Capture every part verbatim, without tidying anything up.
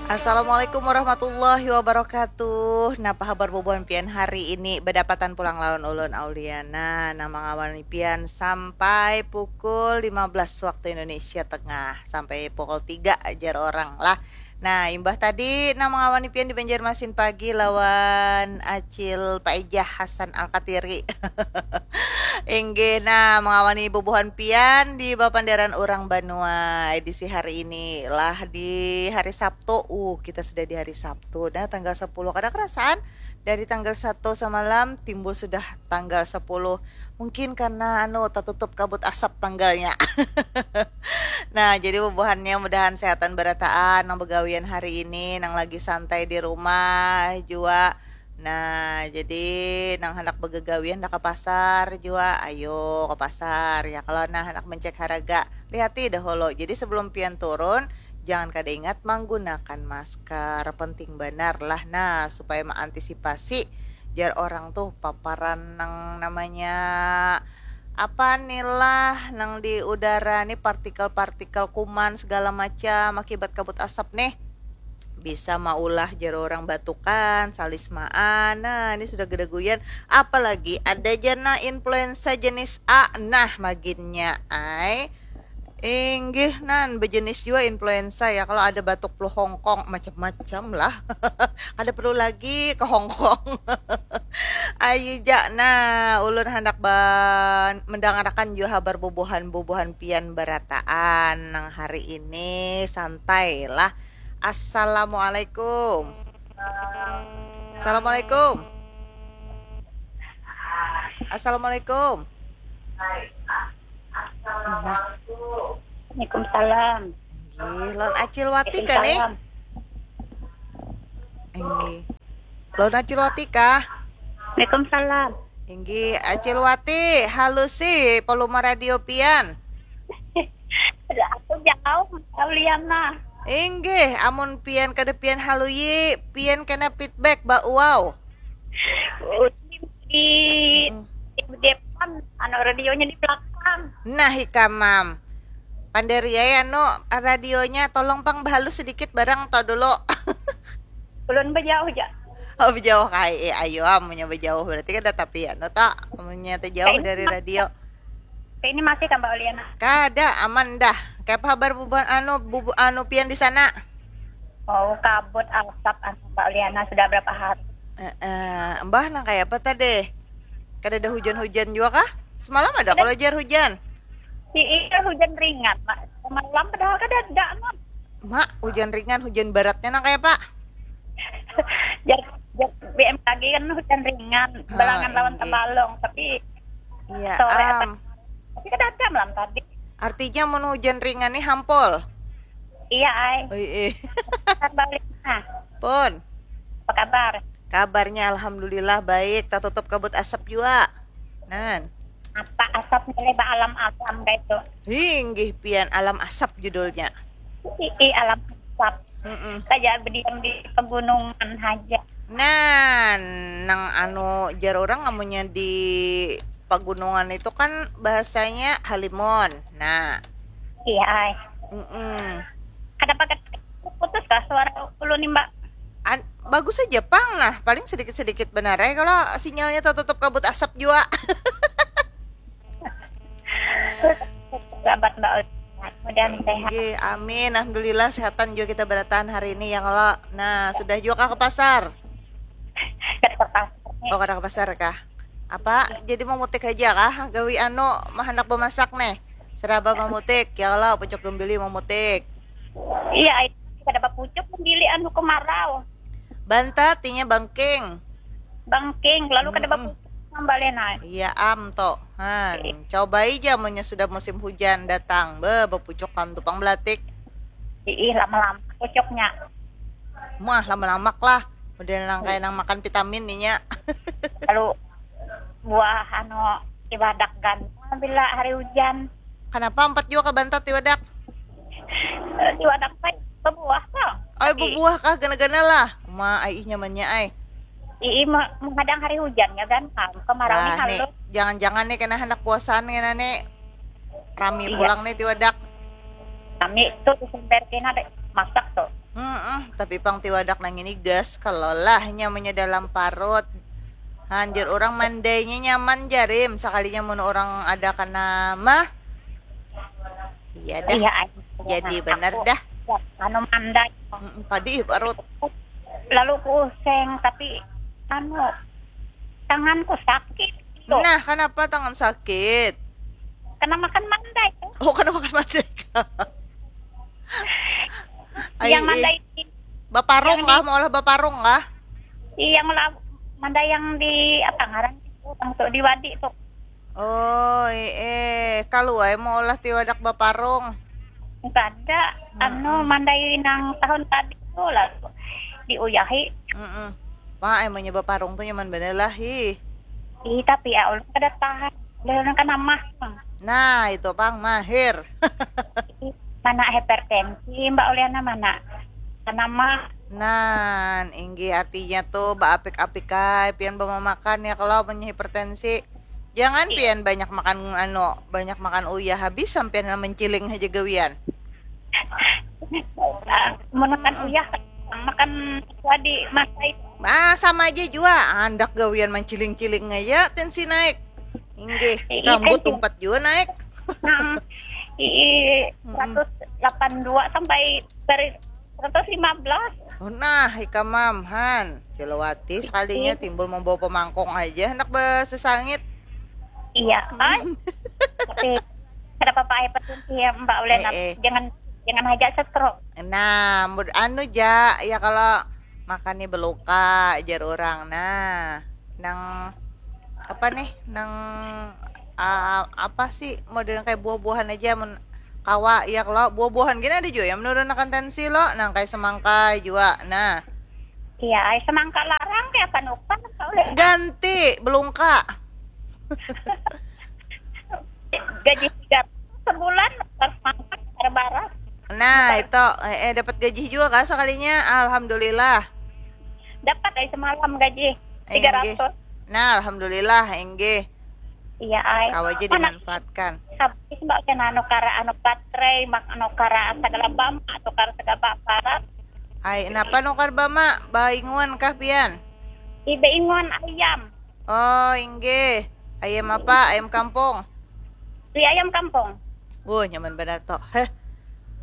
Assalamualaikum warahmatullahi wabarakatuh. Napa habar bubuhan pian hari ini? Badapatan pulang lawan ulun Auliana nang mangawani pian sampai pukul lima belas waktu Indonesia Tengah, sampai pukul tiga ajar orang lah. Nah, imbah tadi nang mangawani pian di Banjarmasin pagi lawan Acil Paijah Hasan Alkatiri. Inggih, nah, mengawani bubuhan pian di bapandaran urang banua edisi hari ini lah di hari Sabtu. Uh, kita sudah di hari Sabtu. Nah, tanggal sepuluh kada kerasaan dari tanggal satu semalam timbul sudah tanggal sepuluh. Mungkin karena anu tertutup kabut asap tanggalnya. Nah, jadi bubuhannya mudahan sehatan berataan nang begawian hari ini, nang lagi santai di rumah jua. Nah, jadi nang handak bagagawi handak ka pasar jua, ayo ka pasar ya kalo nah handak mencek haraga. Lihati dahulu. Jadi sebelum pian turun, jangan kada ingat manggunakan masker. Penting banar lah nah supaya maantisipasi jar orang tuh paparan nang namanya apa nih lah nang di udara nih partikel-partikel kuman segala macam akibat kabut asap nih. Bisa maulah jar orang batukan, salismaan. Nah, ini sudah gedaguyan. Apalagi ada jana influenza jenis A. Nah, maginnya ai. Inggih nan bejenis jua influenza ya kalau ada batuk flu Hongkong macam-macam lah. Kada perlu lagi ke Hongkong. Ayu ja nah ulun handak ban mendangarakan jua habar bubuhan-bubuhan pian barataan nang hari ini santai lah. Assalamualaikum. Assalamualaikum. Assalamualaikum. Nah. Waalaikumsalam. Gih, lawan Acil Wati kah nih? Inggih. Lawan Acil Wati kah? Waalaikumsalam. Inggih, Acil Wati, halusi volume radio pian. Aku jauh, Auliana. Inggih, amun pian kada pian haluyi, pian kena feedback ba uau. Di, di depan, anu radionya di belakang. Nah, ikam mam. Pandari ai anu radionya tolong pang bahalus sedikit barang to dulu. Ulun bejauh ja. Oh, bejauh kai. Eh, ayo amunnya bejauh berarti kada tapi anu ta. Amunnya teh jauh dari radio. Ini masih tambah Auliana. Kada, aman dah. Kaya apa habar bubuhan anu bubu anu pian di sana? Oh, kabut asap anu Mbak Liana sudah berapa hari. Eh, eh, mbah nang kaya apa tadi? Kada ada hujan-hujan juga kah? Semalam ada kalau jar hujan. Iya, hujan ringan, Mak. Semalam padahal kada ada, Mak. Mak, hujan ringan, hujan beratnya nang kaya apa? Jar, jar B M K G kan hujan ringan, balangan lawan tabalong, tapi Iya, sore am. Tapi kada ada malam tadi. Artinya mun hujan ringan nih hampol. Iya, ai. Ui, eh. Kan balik. Nah, Pun. Apa kabar? Kabarnya alhamdulillah baik, tertutup kabut asap juga. Nan. Apa asap nilai ba alam-alam kayak itu? Hinggih pian alam asap judulnya. Ii, alam asap. Mm-mm. Saja berdiam di pegunungan aja. Nah, nang anu jar orang amunnya di pegunungan itu kan bahasanya halimun. Nah, Iya, ai. mm-mm. Kada pakai putus kah suara ulun nih, Mbak? An- bagus aja pang nah, paling sedikit-sedikit benar ya kalau sinyalnya tertutup kabut asap juga. Sahabat Mbak Ul. Mudahan sehat. Inggih, amin. Alhamdulillah sehatan juga kita berataan hari ini ya kalau. Nah, sudah juga kah ke pasar? Kada ke pasar nih. Oh, kada ke pasar kah? Apa jadi memutik aja kah? Gawi anu mahandak memasak nih. Seraba memutik ya kalau pucuk gembili memutik. Iya, ai. Kada bapucuk gembili anu kemarau. Bantat inya bangking. Bangking, lalu kada Mm-mm. bapucuk ngambalin ai. Iya am to. Han, cobai ja munnya sudah musim hujan datang. Be, bepucukan tu pang belatik. Ih, lama-lama pucuknya. Mah lama-lamak lah. Udah nang kayak nang makan vitamin inya. Lalu buah anu tiwadak gandang bila hari hujan. Kenapa empat juga ke bantat tiwadak? Eh, Tiwadak teh bebuah tuh. Ay, bebuah kah gana-gana lah. Ma, ai ih nyamannya ai. Ii me- menghadang hari hujan ya kan. Nah, kemarau nih Nah, nih, halus. Jangan-jangan nih kena hendak puasaan kena nih. Rami Iya. Pulang nih tiwadak. Kami tuh disemper kena deh masak tuh. Hmm, Tapi pang tiwadak nang ini gas, kalo lah nyamannya dalam parut. Hanjir orang mandainya nyaman jarim, sakalinya mun orang ada kena mah. Iya dah. Iya, ai. Jadi bener dah. Anu mandai. Mm, padih parut. Lalu ku useng, tapi anu, tanganku sakit. Tuh. Nah, kenapa tangan sakit? Kena makan mandai. Oh, kena makan mandai. Yang mandai. Baparung kah? Mau olah baparung kah? Iya, yang olah mandai yang di apa ngaran itu? Yang tuh di Wadi tuh. Oh, eh, kalau ai mau olah tiwadak baparung. Kada, anu mandai nang tahun tadi tuh lah diuyahi. Mm-mm. Wah, emangnya baparung tuh nyaman bener lah, hi. Ih, tapi ya Allah kada tahan. Udah kan amah. Nah, itu pang mahir. Mana hipertensi, Mbak Uliana mana? Kan amah. Nah, inggih artinya tuh baapik-apik ai pian bamamakan ya kalau punya hipertensi. Jangan pian banyak makan anu, banyak makan uyah habis sampian menciling aja gawian. Mun makan uyah, makan wadi masai. Ah, sama aja jua. Handak gawian manciling-ciling aja tensi naik. Inggih, rambut umpat jua naik. Ii, seratus delapan dua sampai dari seratus lima belas. Oh, nah, ikam mam, han. Cilawati sekalinya timbul membawa pemangkong aja hendak besesangit. Iya, ai. Tapi kada apa-apa ai, penting sih ya, Mbak Ulen, eh, eh. Jangan, jangan aja stroke. Nah, anu ja, ya kalau makan nih beluka, jar orang. Nah, nang apa nih, nang uh, apa sih modern kayak buah-buahan aja, mun kawa ya kalau buah-buahan gini ada juga yang menurunakan tensi lo, nang kayak semangka juga. Nah, iya, ay, semangka larang kayak panukan. Ganti belungka. Gaji tiga sebulan, pas makan terbaras. Nah, itu eh, eh dapat gaji juga kah sekalinya? Alhamdulillah. Dapat dari semalam gaji tiga ratus. Nah, alhamdulillah, enggih. Iya, ay. Kau aja dimanfaatkan. Habis mbak kena anu kara anu baterai, mak anu kara segala bama, anu kara segala barat. Ay, kenapa nukar bama? Bainguan kah pian? Ih, bainguan ayam. Oh, inggih. Ayam apa? Ayam kampung? Beli ayam kampung. Wuh, nyaman banar tuh. Heh.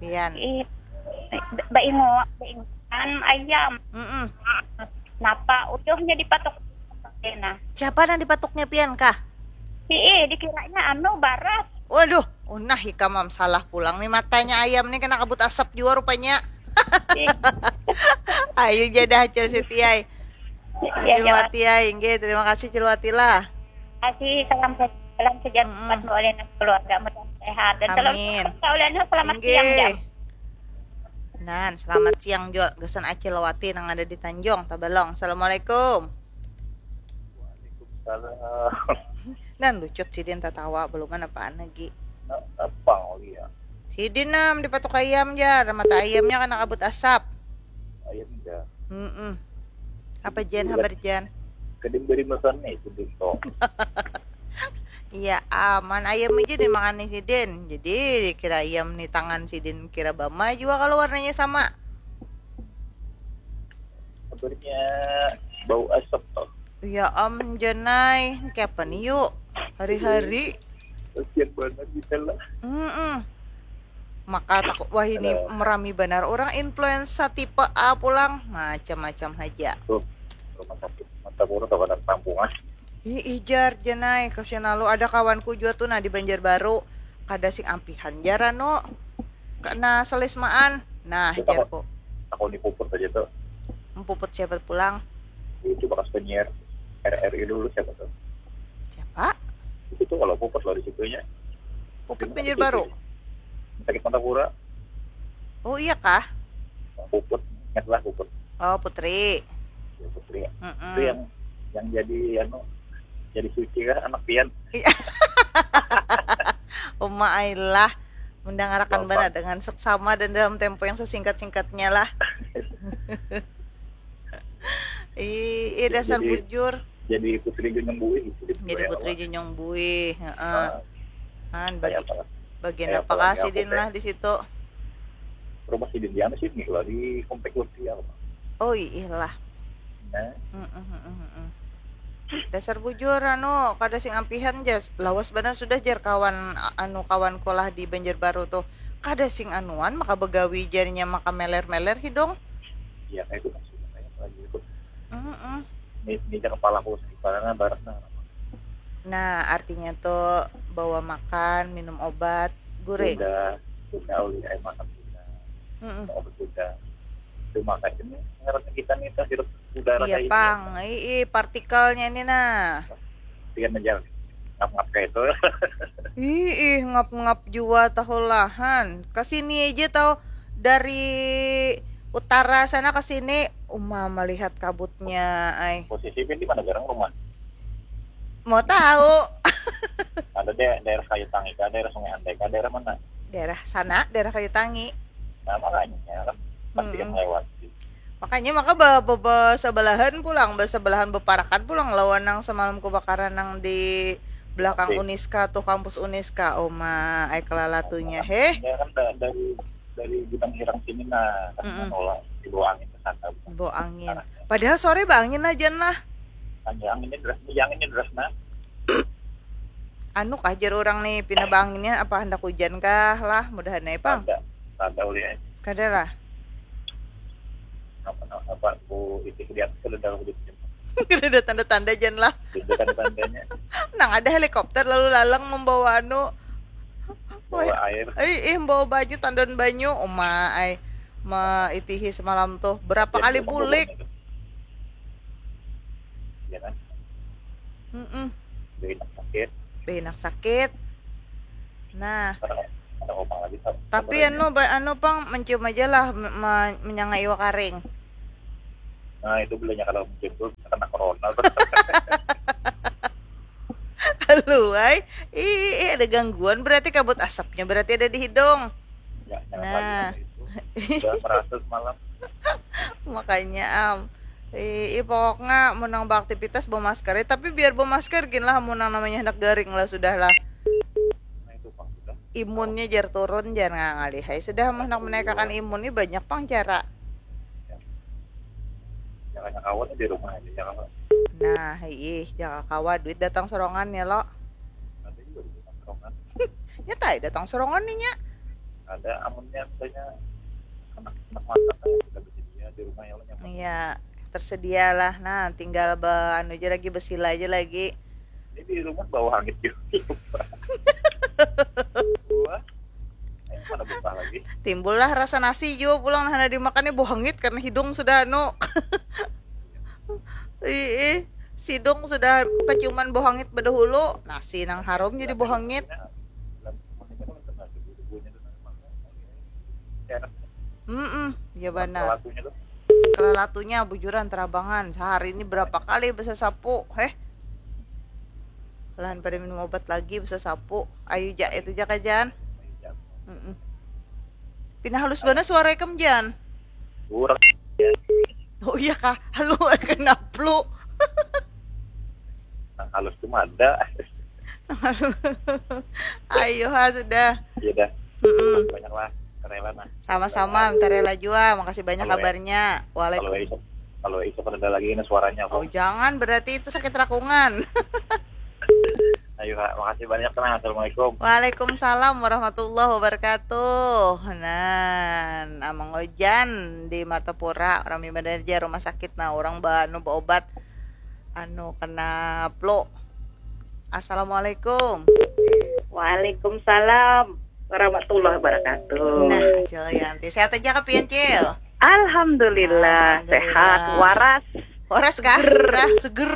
Pian. Ih, bainguan, bainguan ayam. Mm-mm. Napa uyuhnya dipatuk? Nah. Siapa nang dipatuknya pian kah? Ih, dikiranya anu baras. Waduh, unah ikam am salah pulang nih matanya ayam nih kena kabut asap jua rupanya. Ayo jadah Acil Siti ai. Cilwati ai, inggih, terima kasih Cilwati lah. Kasih salam salam sejahtera buat Mbak Uliana keluarga, mudah sehat dan selalu Mbak Uliana selamat siang jam. Nan, selamat siang jua gasan Acil Wati nang ada di Tanjung Tabalong. Assalamualaikum. Waalaikumsalam. Nan lucut sidin tatawa, belum apaan lagi. Apa ya? Sidin nam dipatuk ayam jar, mata ayamnya kena kabut asap. Ayam jar. Mm-mm. Apa Jan, habar Jan? Kedim beri makan nih sidin tuh. Iya, aman ayam aja dimakan nih sidin. Jadi kira ayam nih tangan sidin kira bama juga kalau warnanya sama. Kabarnya bau asap tuh. Ya am janai, kayak apa nih yuk? Hari-hari. Kasian banget kita lah. Mm-mm. Maka takut wah ini merami benar orang influenza tipe A pulang macam-macam aja. Tuh, rumah sakit mata buruk atau kampungan. Ih, ijar janai kasian lalu ada kawanku juga tuh nah di Banjarbaru kada sing ampihan jar anu. Kena selismaan. Nah, jarku. Aku di puput aja tuh. Puput siapa pulang? Itu bekas penyiar R R I dulu siapa tuh? Siapa? Itu tuh kalau puput loh di situnya. Puput penyiar baru. Sakit mata pura. Oh iya kah? Puput, ingatlah puput. Oh Putri. Ya, Putri. Mm-mm. Itu yang yang jadi anu jadi suci kah anak pian? Iya. Uma ailah. Mendangarakan benar dengan seksama dan dalam tempo yang sesingkat-singkatnya lah. Ih, dasar bujur. Jadi putri junjung buih. Jadi putri junjung buih, heeh. Han bagi bagian apa kah sidin lah di situ? rumah sidin di anu sini lah, di komplek Lutfi apa. Oh, iih lah. Nah, Mm, mm, mm, mm, mm. Dasar bujur, anu, kada sing ampihan ja. Lawas banar sudah, jar kawan, anu, kawanku lah di Banjarbaru tuh. Kada sing anuan, maka begawi, jarnya maka meler-meler hidung. Ya kayak itu maksudnya, kayak lagi itu. Mm, mm. Ini, ini aja kepalaku sakit banget, barat nah. Nah, artinya tuh bawa makan, minum obat, gure. Sudah, sudah, ulih air makan sudah, Mm, mm. obat sudah. Cuma kayak ini, ngarannya kita nih, kita hirup udara Iya, kayak ini. Pang. Ih, ih, partikelnya ini, nah. Pian aja ngap-ngap kayak itu. Ih, ih, ngap-ngap jua tahu lahan. Ke sini aja tahu, dari utara sana ke sini, uma melihat kabutnya, ai. Posisi Pian di mana garang rumah? Mau tahu? Ada de daerah Kayu Tangi kah, daerah Sungai Andai kah, daerah mana? Daerah sana, daerah Kayu Tangi. Nah, makanya kan pasti Mm-mm. melewati. Makanya maka ba, ba, ba sebelahan pulang, ba sebelahan beparakan pulang lawan nang semalam kebakaran nang di belakang Oke. Uniska tuh, kampus Uniska. Oma, ai kelalatunya. Heh, Ya kan da- dari dari Gudang Hirang sini, nah, kan Mm-mm. menolak dibawa angin ke sana. Bawa angin. Padahal sore baangin aja lah. Hanya anginnya deras, ya anginnya deras nah. Anu kah, jar orang nih, pina baanginnya apa hendak hujan kah lah, mudahan ai, Pang. Ada, ada ulih. Kada lah. Apa apa aku itu di atas kalau dalam hidup. Kada ada tanda-tanda, jan lah. Itu kan tandanya. Nang ada helikopter lalu lalang membawa anu. Bawa air. Eh, eh, membawa baju, tandan banyu, uma ai. Ma itihi semalam tuh berapa kali bulik? Ya kan? Mm-mm. Jadi enak sakit. Benak sakit. Nah, Ada ada opang lagi. Sab- tapi sabarannya. Anu, ba- anu, Pang, mencium aja lah, me- me- menyanga iwa karing. Nah, itu bilanya kalau mencium tuh bisa kena corona. Halo, ai. Ih, ih, ada gangguan berarti, kabut asapnya berarti ada di hidung. Ya, jangan Nah. Lagi itu. Udah merasa semalam. Makanya, am. Ih, ih, pokoknya mun nang beraktivitas bemasker, eh, tapi biar bemasker gin lah, mun nang namanya hendak garing lah, sudah lah. Nah, itu Pang sudah. Imunnya jar turun, jar ngalih ai. Sudah mun hendak menaikakan imun ni banyak pang cara. Jangan kawan di rumah aja, jangan. Nah, ih, jaka kawa duit datang sorongan ya lo. Ada juga di rumah sorongan. Nyata ai datang sorongan nih nya. Ada amunnya misalnya anak anak masak kan sudah bersedia di rumah ya, lo nyaman. Iya, tersedia lah. Nah, tinggal be anu aja lagi, besila aja lagi. Ini di rumah bau hangit juga. Wah, ini mana buka lagi? Timbullah rasa nasi jua pulang, nah, hana dimakan ni bau hangit karena hidung sudah anu. Ih, ih, sidung sudah keciuman bau hangit badahulu, nasi nang harum jadi bau hangit. Dalam rumah ini kan ada nasi, bumbunya tuh memang enak. Mm-mm, ya banar. Lakunya tuh. Kelalatunya bujuran terabangan, sehari ini berapa kali besasapu, heh. Lahan pada minum obat lagi besasapu. Ayu ja, itu ja kajan. Mm-mm. Pina halus banar suara ikam, Jan. Kurang. Oh iya kah? Halo, kenapa lu? Nah, halus tuh ada. Ayo ha, sudah. Ya dah, Mm-mm. banyak lah, rela nah. Sama-sama, minta rela jua. Makasih banyak Halo, ya. Kabarnya. Kalau Waalaikum. Isok, kalau Isok ada lagi ini suaranya Oh, kok. Jangan, berarti itu sakit rakungan. Ayo, Kak, makasih banyak nah. Assalamualaikum. Waalaikumsalam warahmatullahi wabarakatuh. Nah, Amang Ojan di Martapura, orang mimba aja rumah sakit, nah, orang ba anu berobat anu kena flu. Assalamualaikum. Waalaikumsalam warahmatullahi wabarakatuh. Nah, Cil Yanti, sehat aja kah pian, Cil? Alhamdulillah, Alhamdulillah. Sehat, waras. Horas kah? Sudah seger.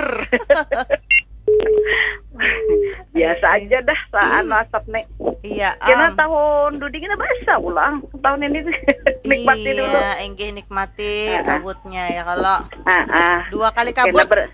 Biasa aja dah, saan asap nih. Iya, Kena am. Tahun dudi kena basah pulang. Tahun ini nikmati dulu. Iya, enggih nikmati Heeh. Kabutnya ya kalau Ah, ah. Dua kali Kena kabut. ber-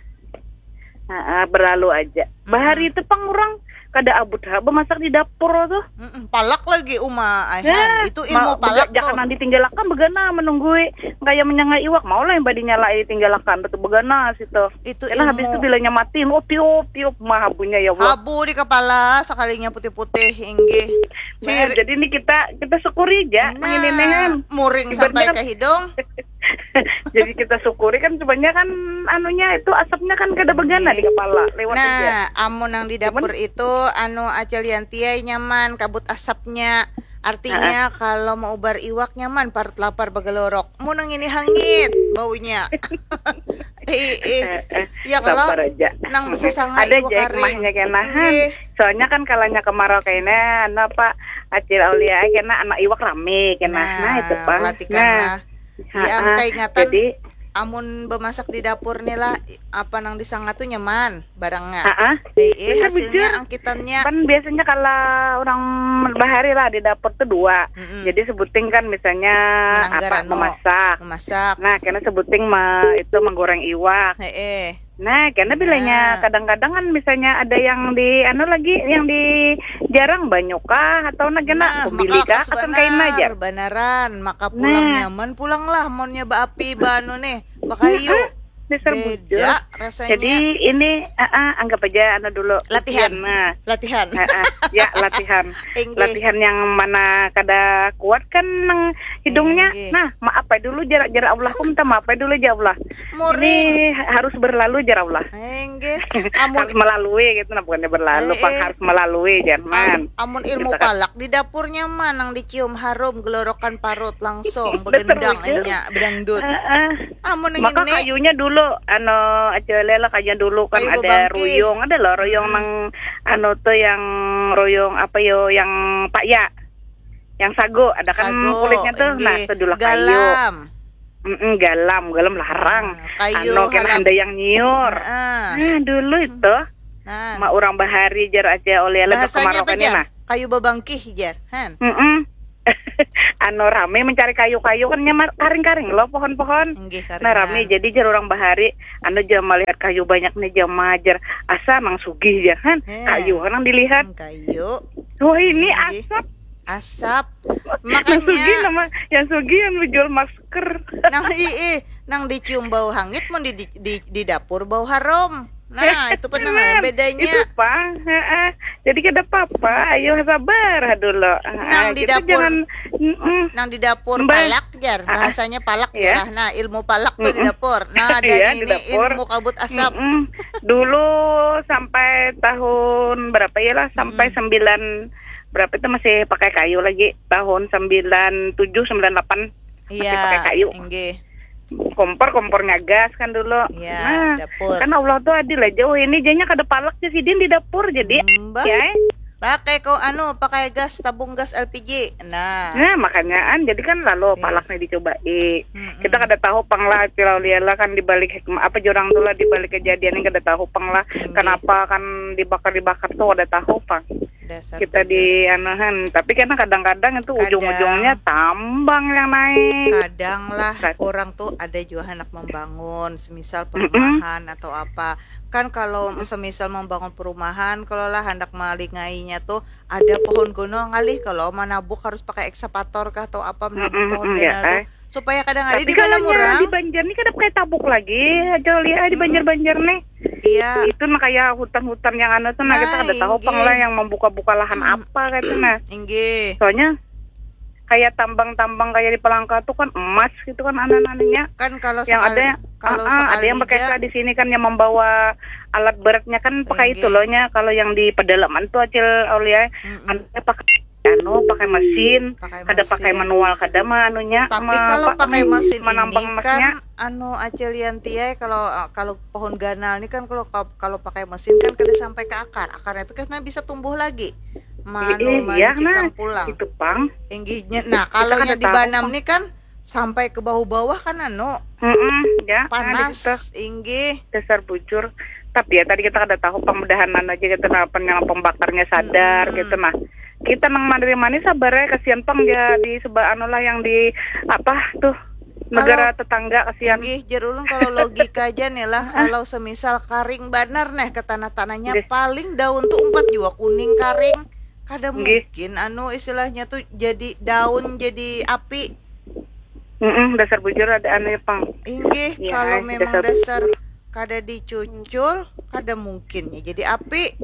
Ah, ah, berlalu aja. Bahari itu pang orang kada abut ha bemasak di dapur tuh. Mm-mm, palak lagi uma aihan. Nah, itu ilmu ma, palak tuh. Jangan nang ditinggalakan begana menunggui kaya menyangai iwak, mau lah yang badinya lai ditinggalakan tuh begana situ. Itu karena ilmu. Habis itu bilanya mati, oh tiup tiup mah habunya ya Allah. Habu di kepala sekalinya putih-putih inggih. Nah, jadi ini kita kita syukuri aja nah, mengininehan. Muring sampai kan, ke hidung. Jadi kita syukuri kan cobanya kan anunya itu asapnya kan kada begana di kepala lewat nah, aja. Amun nang di dapur itu anu aja liantiai nyaman kabut asapnya. Artinya kalau mau ubar iwak nyaman parut lapar begelorok. Mun nang ini hangit baunya. Ih, ih. Ya kalau nang sesanga ada iwak aja kering. Kena, soalnya kan kalanya kemarau kena anu apa acil aulia kena anak iwak rame kena nah, nah itu pang. Nah. Iya, kaingatan. Jadi, amun bemasak di dapur nih lah, apa nang disangat tuh nyaman barangnya. Heeh. Eh, eh hasilnya angkitannya. Kan biasanya kalau orang bahari lah di dapur tuh dua. Mm-mm. Jadi sebuting kan misalnya Menanggar apa anu, memasak. Memasak. Nah, karena sebuting me, itu menggoreng iwak. Heeh. Nah, karena bilanya kadang-kadang kan misalnya ada yang di anu lagi yang di jarang banyu kah atau nah kena nah, kumbili kah akan kain aja. Banaran, maka pulang nah. Nyaman pulang lah monnya baapi banu nih, bakayu. Dasar beda bujur. Rasanya. Jadi ini uh, uh, anggap aja anu dulu latihan. Nah. Latihan. Uh, uh, ya latihan. Latihan yang mana kada kuat kan nang hidungnya. Nah, maaf dulu jarak jarak Allah pun minta maaf dulu aja Allah. Muring. Ini harus berlalu jar Allah. Enggih. Amun harus melalui gitu nah bukannya berlalu, eh, pang eh. Harus melalui jangan. Am, amun ilmu gitu, palak di dapurnya mah nang dicium harum gelorokan parut langsung begendang inya bedangdut. Uh, uh. Amun maka ini, kayunya dulu anu aja lela kayunya dulu kan kayu ada bebangkih. Ruyung ada loh ruyung hmm. Nang anu tuh yang ruyung apa yo yang pak ya yang sago ada kan sago, kulitnya tuh enggih. Nah sedulah kayu. Galam. Mm-mm, galam, galam larang. Nah, kayu anu kena handa yang nyiur. Nah, nah dulu itu nah. Mak orang bahari jar aja oleh alat bahasanya apa jar? Nah. Kayu babangkih jar, han. Mm-mm. Anu rame mencari kayu-kayu kan nyamar karing-karing loh pohon-pohon. Nah rame jadi jar orang bahari anu jam melihat kayu banyak nih jam majar asa nang sugih jar han. He. Kayu kan nang dilihat. Hmm, kayu. Wah ini asap. Asap. Makanya yang sugi nama yang sugi yang menjual masker. Nang ii nang dicium bau hangit mun di di, di dapur bau harum. Nah, itu pun nang bedanya. Itu pang. Heeh. Jadi kada apa-apa, ayo sabar dulu. Nang di dapur. Jangan, nang di dapur palak jar, bahasanya palak ya. Nah, ilmu palak tuh di dapur. Nah, dari ya, ini dapur. Ilmu kabut asap. Mm-mm. Dulu sampai tahun berapa ya lah, sampai mm-mm. Sembilan berapa itu masih pakai kayu lagi tahun sembilan tujuh sembilan delapan masih ya, pakai kayu. Inggih. Kompor kompornya gas kan dulu. Ya, nah, dapur. Kan Allah tuh adil aja. Oh ini jadinya kada palak sih sidin di dapur jadi. Hmm, ya. Eh. Pakai kau anu, pakai gas tabung gas L P G. Nah. Nah, makanya an jadi kan lalu okay. Palak nih dicobai. Hmm, kita kada tahu pang lah Cilau Liela kan dibalik hikmah apa jurang tuh lah dibalik kejadian ini kada tahu pang lah okay. Kenapa kan dibakar dibakar tuh kada tahu pang. Dasar kita di anuhan tapi karena kadang-kadang itu kadang, ujung-ujungnya tambang yang naik kadang lah orang tuh ada juga anak membangun semisal perumahan mm -mm. Atau apa kan kalau mm -mm. Semisal membangun perumahan kalau lah hendak melingainya tuh ada pohon gunung ngalih kalau menabuk harus pakai eksavator kah atau apa menabuk mm -mm, pohon mm -mm, gunung ya, tuh eh. Supaya kadang ada di dalam orang. Di Banjar nih kada pakai tabuk lagi aja lihat di Banjar-Banjar nih. Iya. Itu nah kayak hutan-hutan yang anu tuh nah kita kada tahu pang lah yang membuka-buka lahan apa kayak itu nah. Inggih. Soalnya kayak tambang-tambang kayak di Palangka tuh kan emas gitu kan anak-anaknya. Kan kalau yang sekali, ada kalau uh, sekali ada yang pakai di sini kan yang membawa alat beratnya kan pakai itu loh nya kalau yang di pedalaman tuh acil Aulia mm -mm. Anaknya pakai anu pakai mesin kada pakai manual kada mah anunya tapi kalau pakai mesin ini kan anu acil yantiai kalau eh, kalau pohon ganal ini kan kalau kalau pakai mesin kan kada sampai ke akar akarnya itu kan bisa tumbuh lagi manu iya, nah, pulang itu pang inggihnya nah kalau yang dibanam nih kan sampai ke bawah-bawah kan anu mm -mm, ya, nah, panas inggih dasar bujur tapi ya tadi kita kada tahu pemudahan aja gitu nah penyala pembakarnya sadar hmm. Gitu nah kita nang manis sabar ya kasihan pang ya di sebab anu lah yang di apa tuh Negara tetangga kasihan. Inggih, jar ulun kalau logika aja nih lah, kalau semisal karing banar nih ke tanah-tanahnya, paling daun tuh umpat jua kuning karing. Kada mungkin anu istilahnya tuh jadi daun jadi api. Mm-mm, dasar bujur ada anu ya pang. Inggih, ya, kalau memang dasar, dasar kada dicucul, kada mungkin ya jadi api.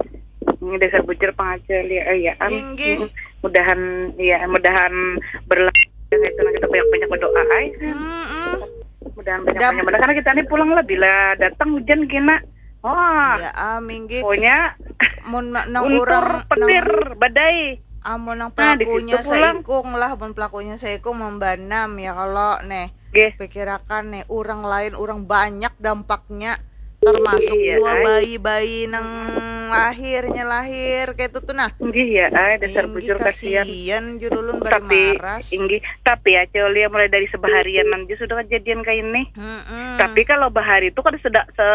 Ini dasar bujur pang aja lihat ya. Inggih. Mudahan ya, mudahan berlalu itu kita banyak-banyak berdoa ay. Mm-mm. Mudahan banyak-banyak berdoa karena kita ini pulang lah bila datang hujan kena. Oh. Ya am inggih. Pokoknya mun nang urang petir badai. Amun nang pelakunya seikung lah, mun pelakunya seikung membanam ya kalau nih. Pikirakan nih, orang lain, orang banyak dampaknya, termasuk iya, jua bayi-bayi nang lahirnya lahir kayak itu tuh nah. Inggih ya, ay, dasar bujur kasihan. Kasihan judulun bari tapi maras. Inggih, tapi ya Cel ya mulai dari sebaharian aja sudah kejadian kayak ini. Mm-mm. Tapi kalau bahari itu kada sudah se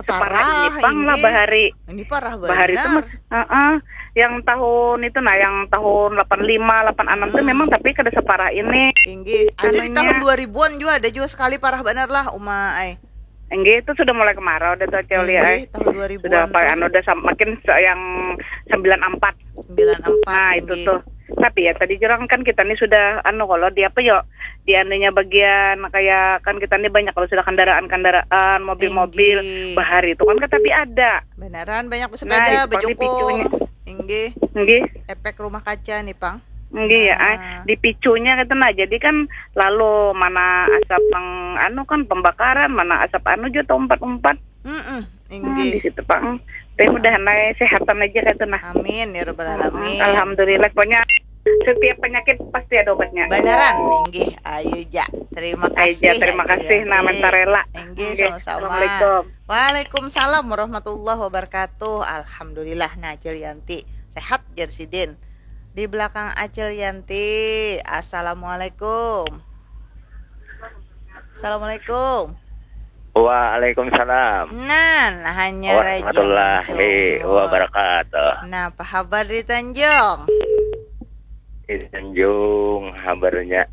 separah ini pang lah bahari. Ini parah banget. Bahari itu mas, uh-uh. Yang tahun itu nah, yang tahun delapan lima, delapan enam tuh memang tapi kada separah ini. Inggih, ada di tahun dua ribuan juga ada juga sekali parah benar lah uma ay. Inggih, itu sudah mulai kemarau dah tuh Cel ya ay. Inggih, tahun dua ribuan sudah apa anu udah makin yang sembilan empat. Sembilan empat. Nah, itu tuh. Tapi ya tadi jurang kan kita nih sudah anu kalau di apa yo, di anunya bagian kayak kan kita nih banyak kalau sudah kendaraan-kendaraan, mobil-mobil, bahari itu kan tapi ada. Beneran banyak bersepeda, nah, bejukung. Inggih. Inggih. Efek rumah kaca nih pang. Inggih ya, ah, di picunya gitu nah. Jadi kan lalu mana asap yang anu kan pembakaran, mana asap anu juga umpat-umpat. Mm-mm, inggih. Nah, di situ pang. Tapi mudahan lah sehatan aja gitu nah. Amin ya rabbal alamin. Alhamdulillah, pokoknya setiap penyakit pasti ada obatnya. Beneran, inggih. Ayo ja. Terima kasih. Ayo ja, terima kasih nah mentarela. Inggih, sama-sama. Assalamualaikum. Waalaikumsalam warahmatullahi wabarakatuh. Alhamdulillah nah Cil Yanti sehat jar sidin. Di belakang Acil Yanti. Assalamualaikum. Assalamualaikum. Waalaikumsalam. Nah, nah hanya warahmatullahi wabarakatuh. Nah, apa kabar di Tanjung? Di Tanjung kabarnya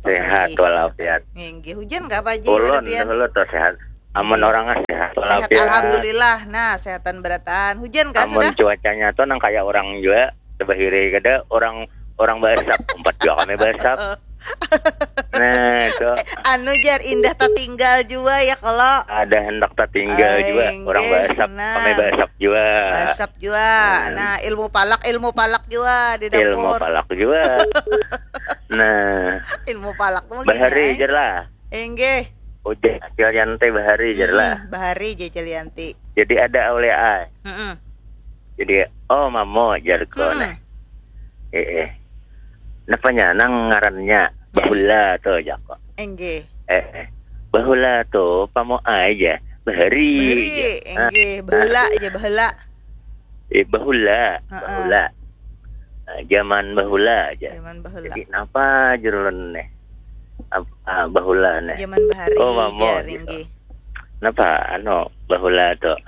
sehat walafiat. Inggih, hujan nggak Pak Haji? Ulun dulu tuh sehat. Amun orang sehat walafiat. Alhamdulillah. Nah, sehatan berataan. Hujan kah sudah? Amun cuacanya tuh nang kayak orang juga sebahiri kada orang orang basap, umpat juga kami basap. Nah, itu. Anu jar indah tatinggal juga ya kalau ada hendak tatinggal juga orang basap, kami basap juga. Basap juga. Nah, ilmu palak, ilmu palak juga di dapur. Ilmu palak juga. Nah, ilmu palak tuh bahari jar lah. Inggih. Ujar Acil Yanti bahari jar lah. Bahari ja Acil Yanti. Jadi ada aulia ai. Heeh. Jadi, "Oh, mamo," jarku nah. Eh, eh. Napanya nang ngarannya? Bahula tu, jaku. Inggih. Eh, eh. Bahula tu, pamo ai ja. Bahari. Bahari, inggih. Bahula ja, bahula. Eh, bahula, bahula. Ah, zaman bahula aja. Zaman bahula. Jadi napa jurulun nih? Ah, bahula nih. Zaman bahari. Oh, mamo gitu. Napa anu bahula tuh?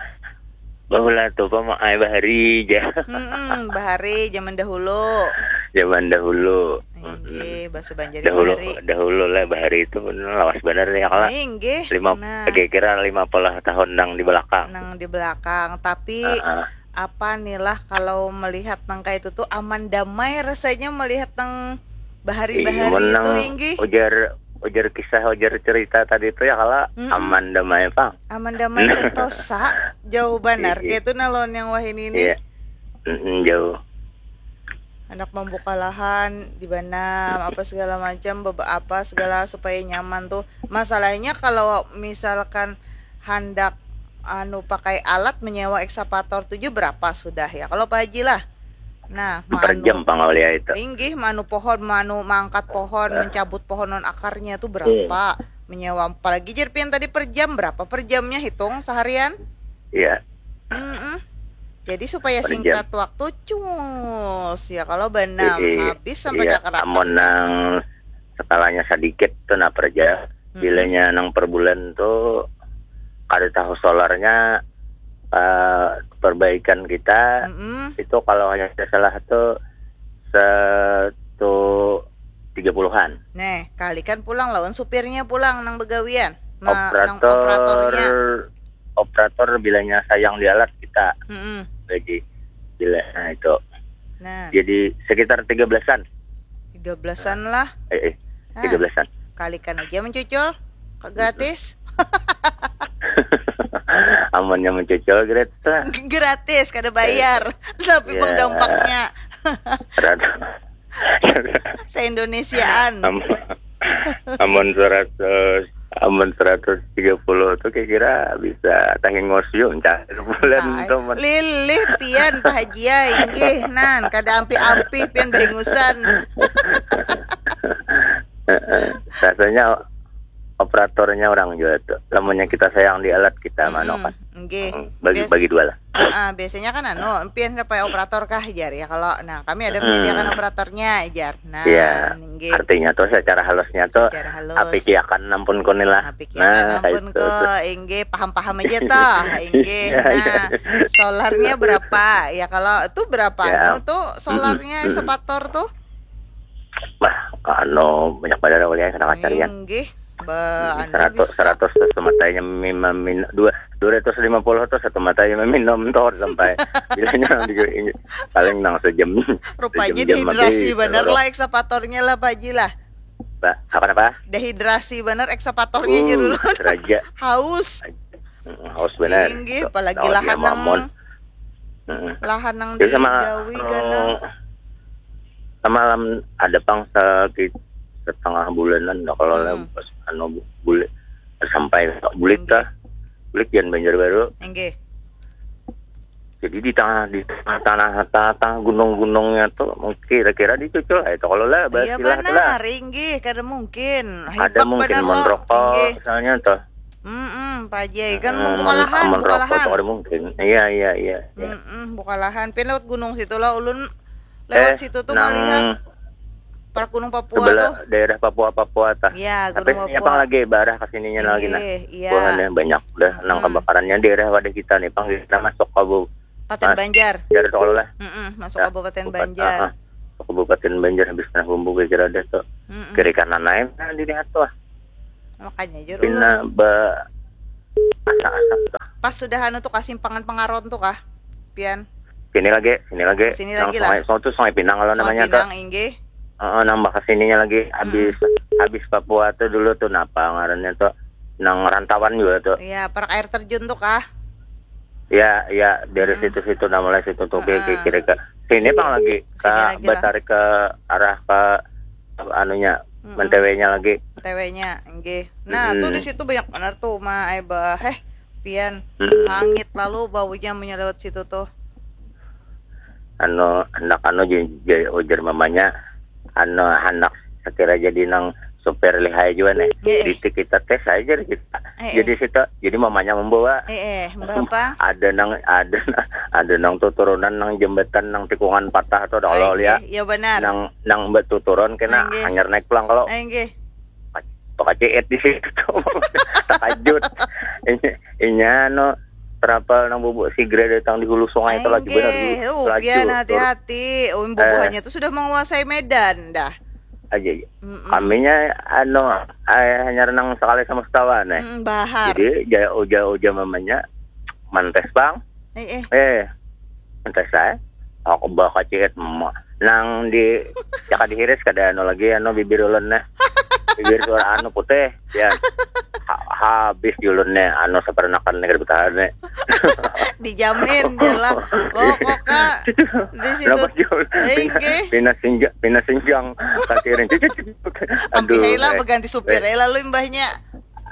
Bahula tuh pama ai bahari aja. Hmm, bahari zaman dahulu. Zaman dahulu. Inggih, bahasa Banjar dahulu, bahari. Dahulu lah bahari itu bener lawas bener ya kalau. Inggih. Lima, nah, kira-kira lima puluh tahun nang di belakang. Nang di belakang, tapi uh -uh. Apa nih lah kalau melihat nang kayak itu tuh aman damai rasanya melihat nang bahari-bahari itu, inggih. Ujar ujar kisah ujar cerita tadi itu ya kalau mm -mm. Aman damai pang. Aman damai sentosa jauh banar gitu nah lawan yang wahini ini. Iya. Mm -mm, jauh. Anak membuka lahan di mana apa segala macam apa segala supaya nyaman tuh. Masalahnya kalau misalkan handak anu pakai alat menyewa ekskavator tujuh berapa sudah ya kalau Pak Haji lah. Nah, per jam pangaulia itu. Inggih, manu pohon, manu mangkat pohon, uh. Mencabut pohon non akarnya itu berapa? Hmm. Menyewa apalagi jerpian tadi per jam berapa per jamnya hitung seharian? Iya. Mm -mm. Jadi supaya per singkat jam. Waktu cus ya kalau benam iya, habis sampai iya. Kakak amun nang skalanya sedikit tuh nah per jam. Bilanya nang per bulan tuh kada tahu solarnya uh, perbaikan kita mm -mm. Itu kalau hanya salah tuh satu tiga puluhan. Neh, kalikan pulang lawan supirnya pulang nang begawian. Ma, operator, nang operatornya. Operator bilanya sayang di alat kita. Mm-mm. Gaji. Bila, nah itu. Nah. Jadi sekitar tiga belasan. Tiga belasan lah. Eh, eh. Tiga belasan. Kalikan aja mencucul. Gratis. Amannya mencucul gratis. Gratis, kada bayar. Tapi ya. Bang dampaknya. Se-Indonesiaan. Amun seratus, amun seratus tiga puluh tuh kira-kira bisa tahingos yuk, entah bulan tuh. Lilih pian Pak Haji ya, inggih nan kada ampih-ampih pian bahingusan. Rasanya operatornya orang juga tuh. Lamunnya kita sayang di alat kita manokan. Nggih. Bagi bagi dua lah. Heeh, biasanya kan anu, pian dapat operator kah jar ya kalau. Nah, kami ada menyediakan operatornya jar. Nah, ya, nggih. Artinya tuh secara halusnya tuh secara halus. Apikiakan ampun kunilah. Apikiakan nah, ampun ko, inggih paham-paham aja toh, inggih. Nah, solarnya berapa? Ya kalau itu berapa ya. Anu tuh solarnya mm-mm. Sepator tuh? Bah, anu banyak pada awalnya kena pacar ya. Nggih. Ba, anu seratus, bisa. Seratus tuh sematanya mima min dua dua ratus lima puluh tuh satu matanya meminum tuh sampai bilanya di paling nang sejam. Rupanya sejam dehidrasi bener lah eksapatornya lah Pak Haji lah. Pak, apa apa? Dehidrasi bener eksapatornya uh, judul. Raja. Haus. Haus bener. Inggih, apalagi lahan nang lahan nang digawi anu, ganang. Samalam ada pang sakit setengah bulanan dah kalau hmm. Anu boleh sampai bulik kah bulik yang Banjarbaru. Enggih. Jadi di tengah di tengah tanah tengah gunung-gunungnya tuh kira-kira dicucul itu kalau lah iya benar inggih kada mungkin ada mungkin merokok misalnya tuh. Mm-mm, Pak Jai kan hmm, buka lahan, buka lahan. Mungkin. Iya, iya, iya. Iya. Mm-mm, buka lahan. Pian lewat gunung situ lah ulun lewat eh, situ tuh nang... melihat Park Gunung Papua tuh. Daerah Papua Papua tah. Iya, Gunung Papua. Apa lagi barah ke sininya lagi nah. Iya. Buahnya banyak dah hmm. Nang kebakarannya daerah wadah kita nih pang kita masuk ke Kabupaten Banjar. Banjar tol lah. Mm-mm, masuk ya, Kabupaten Banjar. Uh, Kabupaten Banjar habis kena bumbu kira ada tuh. Mm-mm. Kiri kanan lain nah dilihat tuh. Makanya jur Pina ulun. Ba asa-asa tuh. Pas sudah anu tuh kasimpangan Pengaron tuh kah? Pian. Sini lagi, sini lagi. Sini lagi lah. Sungai, tuh Sungai Pinang kalau namanya Pinang, tuh. Inggih. Uh, nang bakasininya lagi habis hmm. Habis Papua tuh dulu tuh napa ngarannya tuh nang rantauan juga tuh. Iya, parak air terjun tuh kah? Ya, ya dari hmm. Situ-situ nah mulai situ tuh uh, kira-kira ke sini pang lagi ke batarik ke arah ke anunya hmm. Mentewenya lagi. Mentewenya, enggih. Nah, hmm. Tuh di situ banyak benar tuh uma ai bah eh pian hmm. Hangit lalu baunya menyelewat situ tuh. Anu hendak anu ujar mamanya anu hendak sekira jadi nang supir lihai juga nih. Iya. Di kita tes aja kita. Eh, jadi eh. Situ, jadi mamanya membawa. Eh, eh, membawa apa? Ada nang ada ada nang tuh turunan nang jembatan nang tikungan patah tuh dah kalau lihat. Iya benar. Nang nang betuturan kena hanyar naik pulang kalau. Enggih. Pakai ciit di situ. Takajut. Ini inya no travel nang bubuk sigra datang di hulu sungai itu lagi benar. Uh, laju. Pian hati-hati. Um, bubuhannya eh. Tuh sudah menguasai Medan dah. Aja, aja. Mm-mm. Kaminya anu hanyar nang sekali sama setawa nih. Mm, bahar. Jadi jauh-jauh mamanya mantes bang. Eh, eh. Eh, mantes saya. Aku bawa kacit nang di jaka dihiris kada anu lagi anu bibir ulun nih. Bibir suara anu putih ya. Ha, habis di ulun nih anu sapernakan nih kada bertahan nih. Dijamin jelas. Pokoknya di situ. Pina sinjang, pina sinjang. Ampih lah berganti supir eh lalu imbahnya.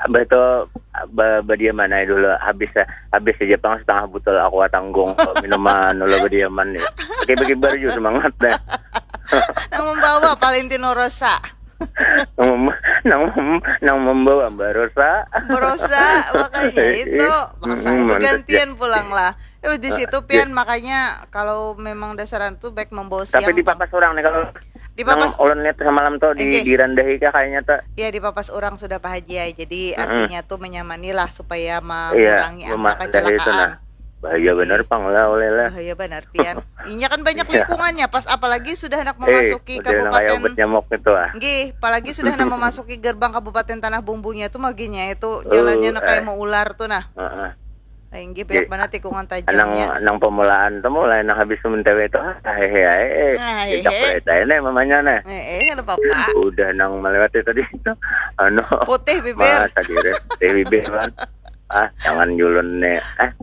Abah tuh ba, badiaman aja dulu habis habis aja pang setengah botol aku tanggung minuman dulu badiaman nih. Oke bagi baru semangat deh. Nang membawa Valentino Rosa. Nang mem, nang mem, nang membawa Mbak Rosa. Mbak Rosa makanya itu maksa hmm, gantian pulang lah. Eh, di situ pian makanya kalau memang dasaran tuh baik membawa siang. Tapi dipapas orang nih kalau dipapas orang lihat semalam tuh di dirandahi kah kayaknya tuh. Iya dipapas orang sudah Pak Haji ya. Jadi mm-hmm. Artinya tuh menyamani lah supaya mengurangi iya, angka kecelakaan. Nah. Bahaya benar pang lah, oleh lah. Bahaya benar, pian. Inya kan banyak lingkungannya, pas apalagi sudah hendak memasuki Kabupaten. Nyamuk itu ah. Nggih, apalagi sudah hendak memasuki gerbang Kabupaten Tanah Bumbunya tuh maginya itu jalannya nak kayak mau ular tuh nah. Heeh. Inggih, banyak banget tikungan tajamnya. Nang, nang pemulaan tuh mulai nang habis mentewe itu ah hehe ae. Ah, hehe. Tidak boleh tanya nih mamanya nih. Eh, eh, ada apa-apa. Udah nang melewati tadi itu. Anu. Putih bibir. Masa diri. Putih bibir kan. Ah, jangan julun nih. Ah.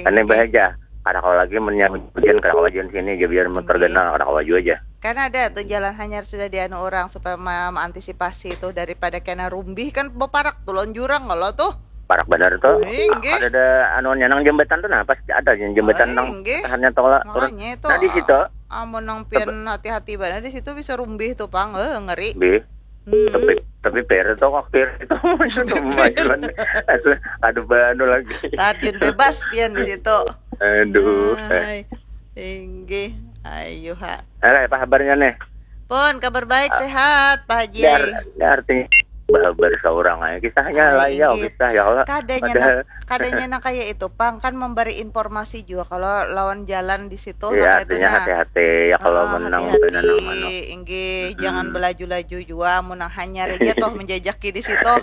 Aneh bahagia. Kada kawa lagi menyambut hujan, kada kawa hujan sini aja biar tergenal, kada kawa jua aja. Kan ada tuh jalan hanyar sudah dianu orang supaya mengantisipasi itu daripada kena rumbih kan beparak tuh lawan jurang kalau tuh. Parak benar tuh. Inggih. Ada ada anuannya nang jembatan tuh nah pas ada jembatan nang tahannya tuh lah. Makanya itu. Nah di situ. Amun nang pian hati-hati banar di situ bisa rumbih tuh pang, eh, ngeri. Bih. Hmm. Tapi tapi per itu kok per itu lumayan. Aduh, aduh banu lagi. Tarjun bebas pian di situ. Aduh. Hai. Tinggi. Ayo ha. Alah, apa kabarnya nih? Pun kabar baik ah, sehat Pak Haji. Dar, artinya bahabar seorang aja kisahnya ah, lah ya kisah ya Allah. Kadanya Padahal... nak, kadanya nak kayak itu pang kan memberi informasi juga kalau lawan jalan di situ. Iya, nah, artinya nah. Hati-hati ya kalau ah, menang hati-hati. Inggih, hmm. Jangan belaju-laju juga mun hanyar aja toh menjajaki di situ.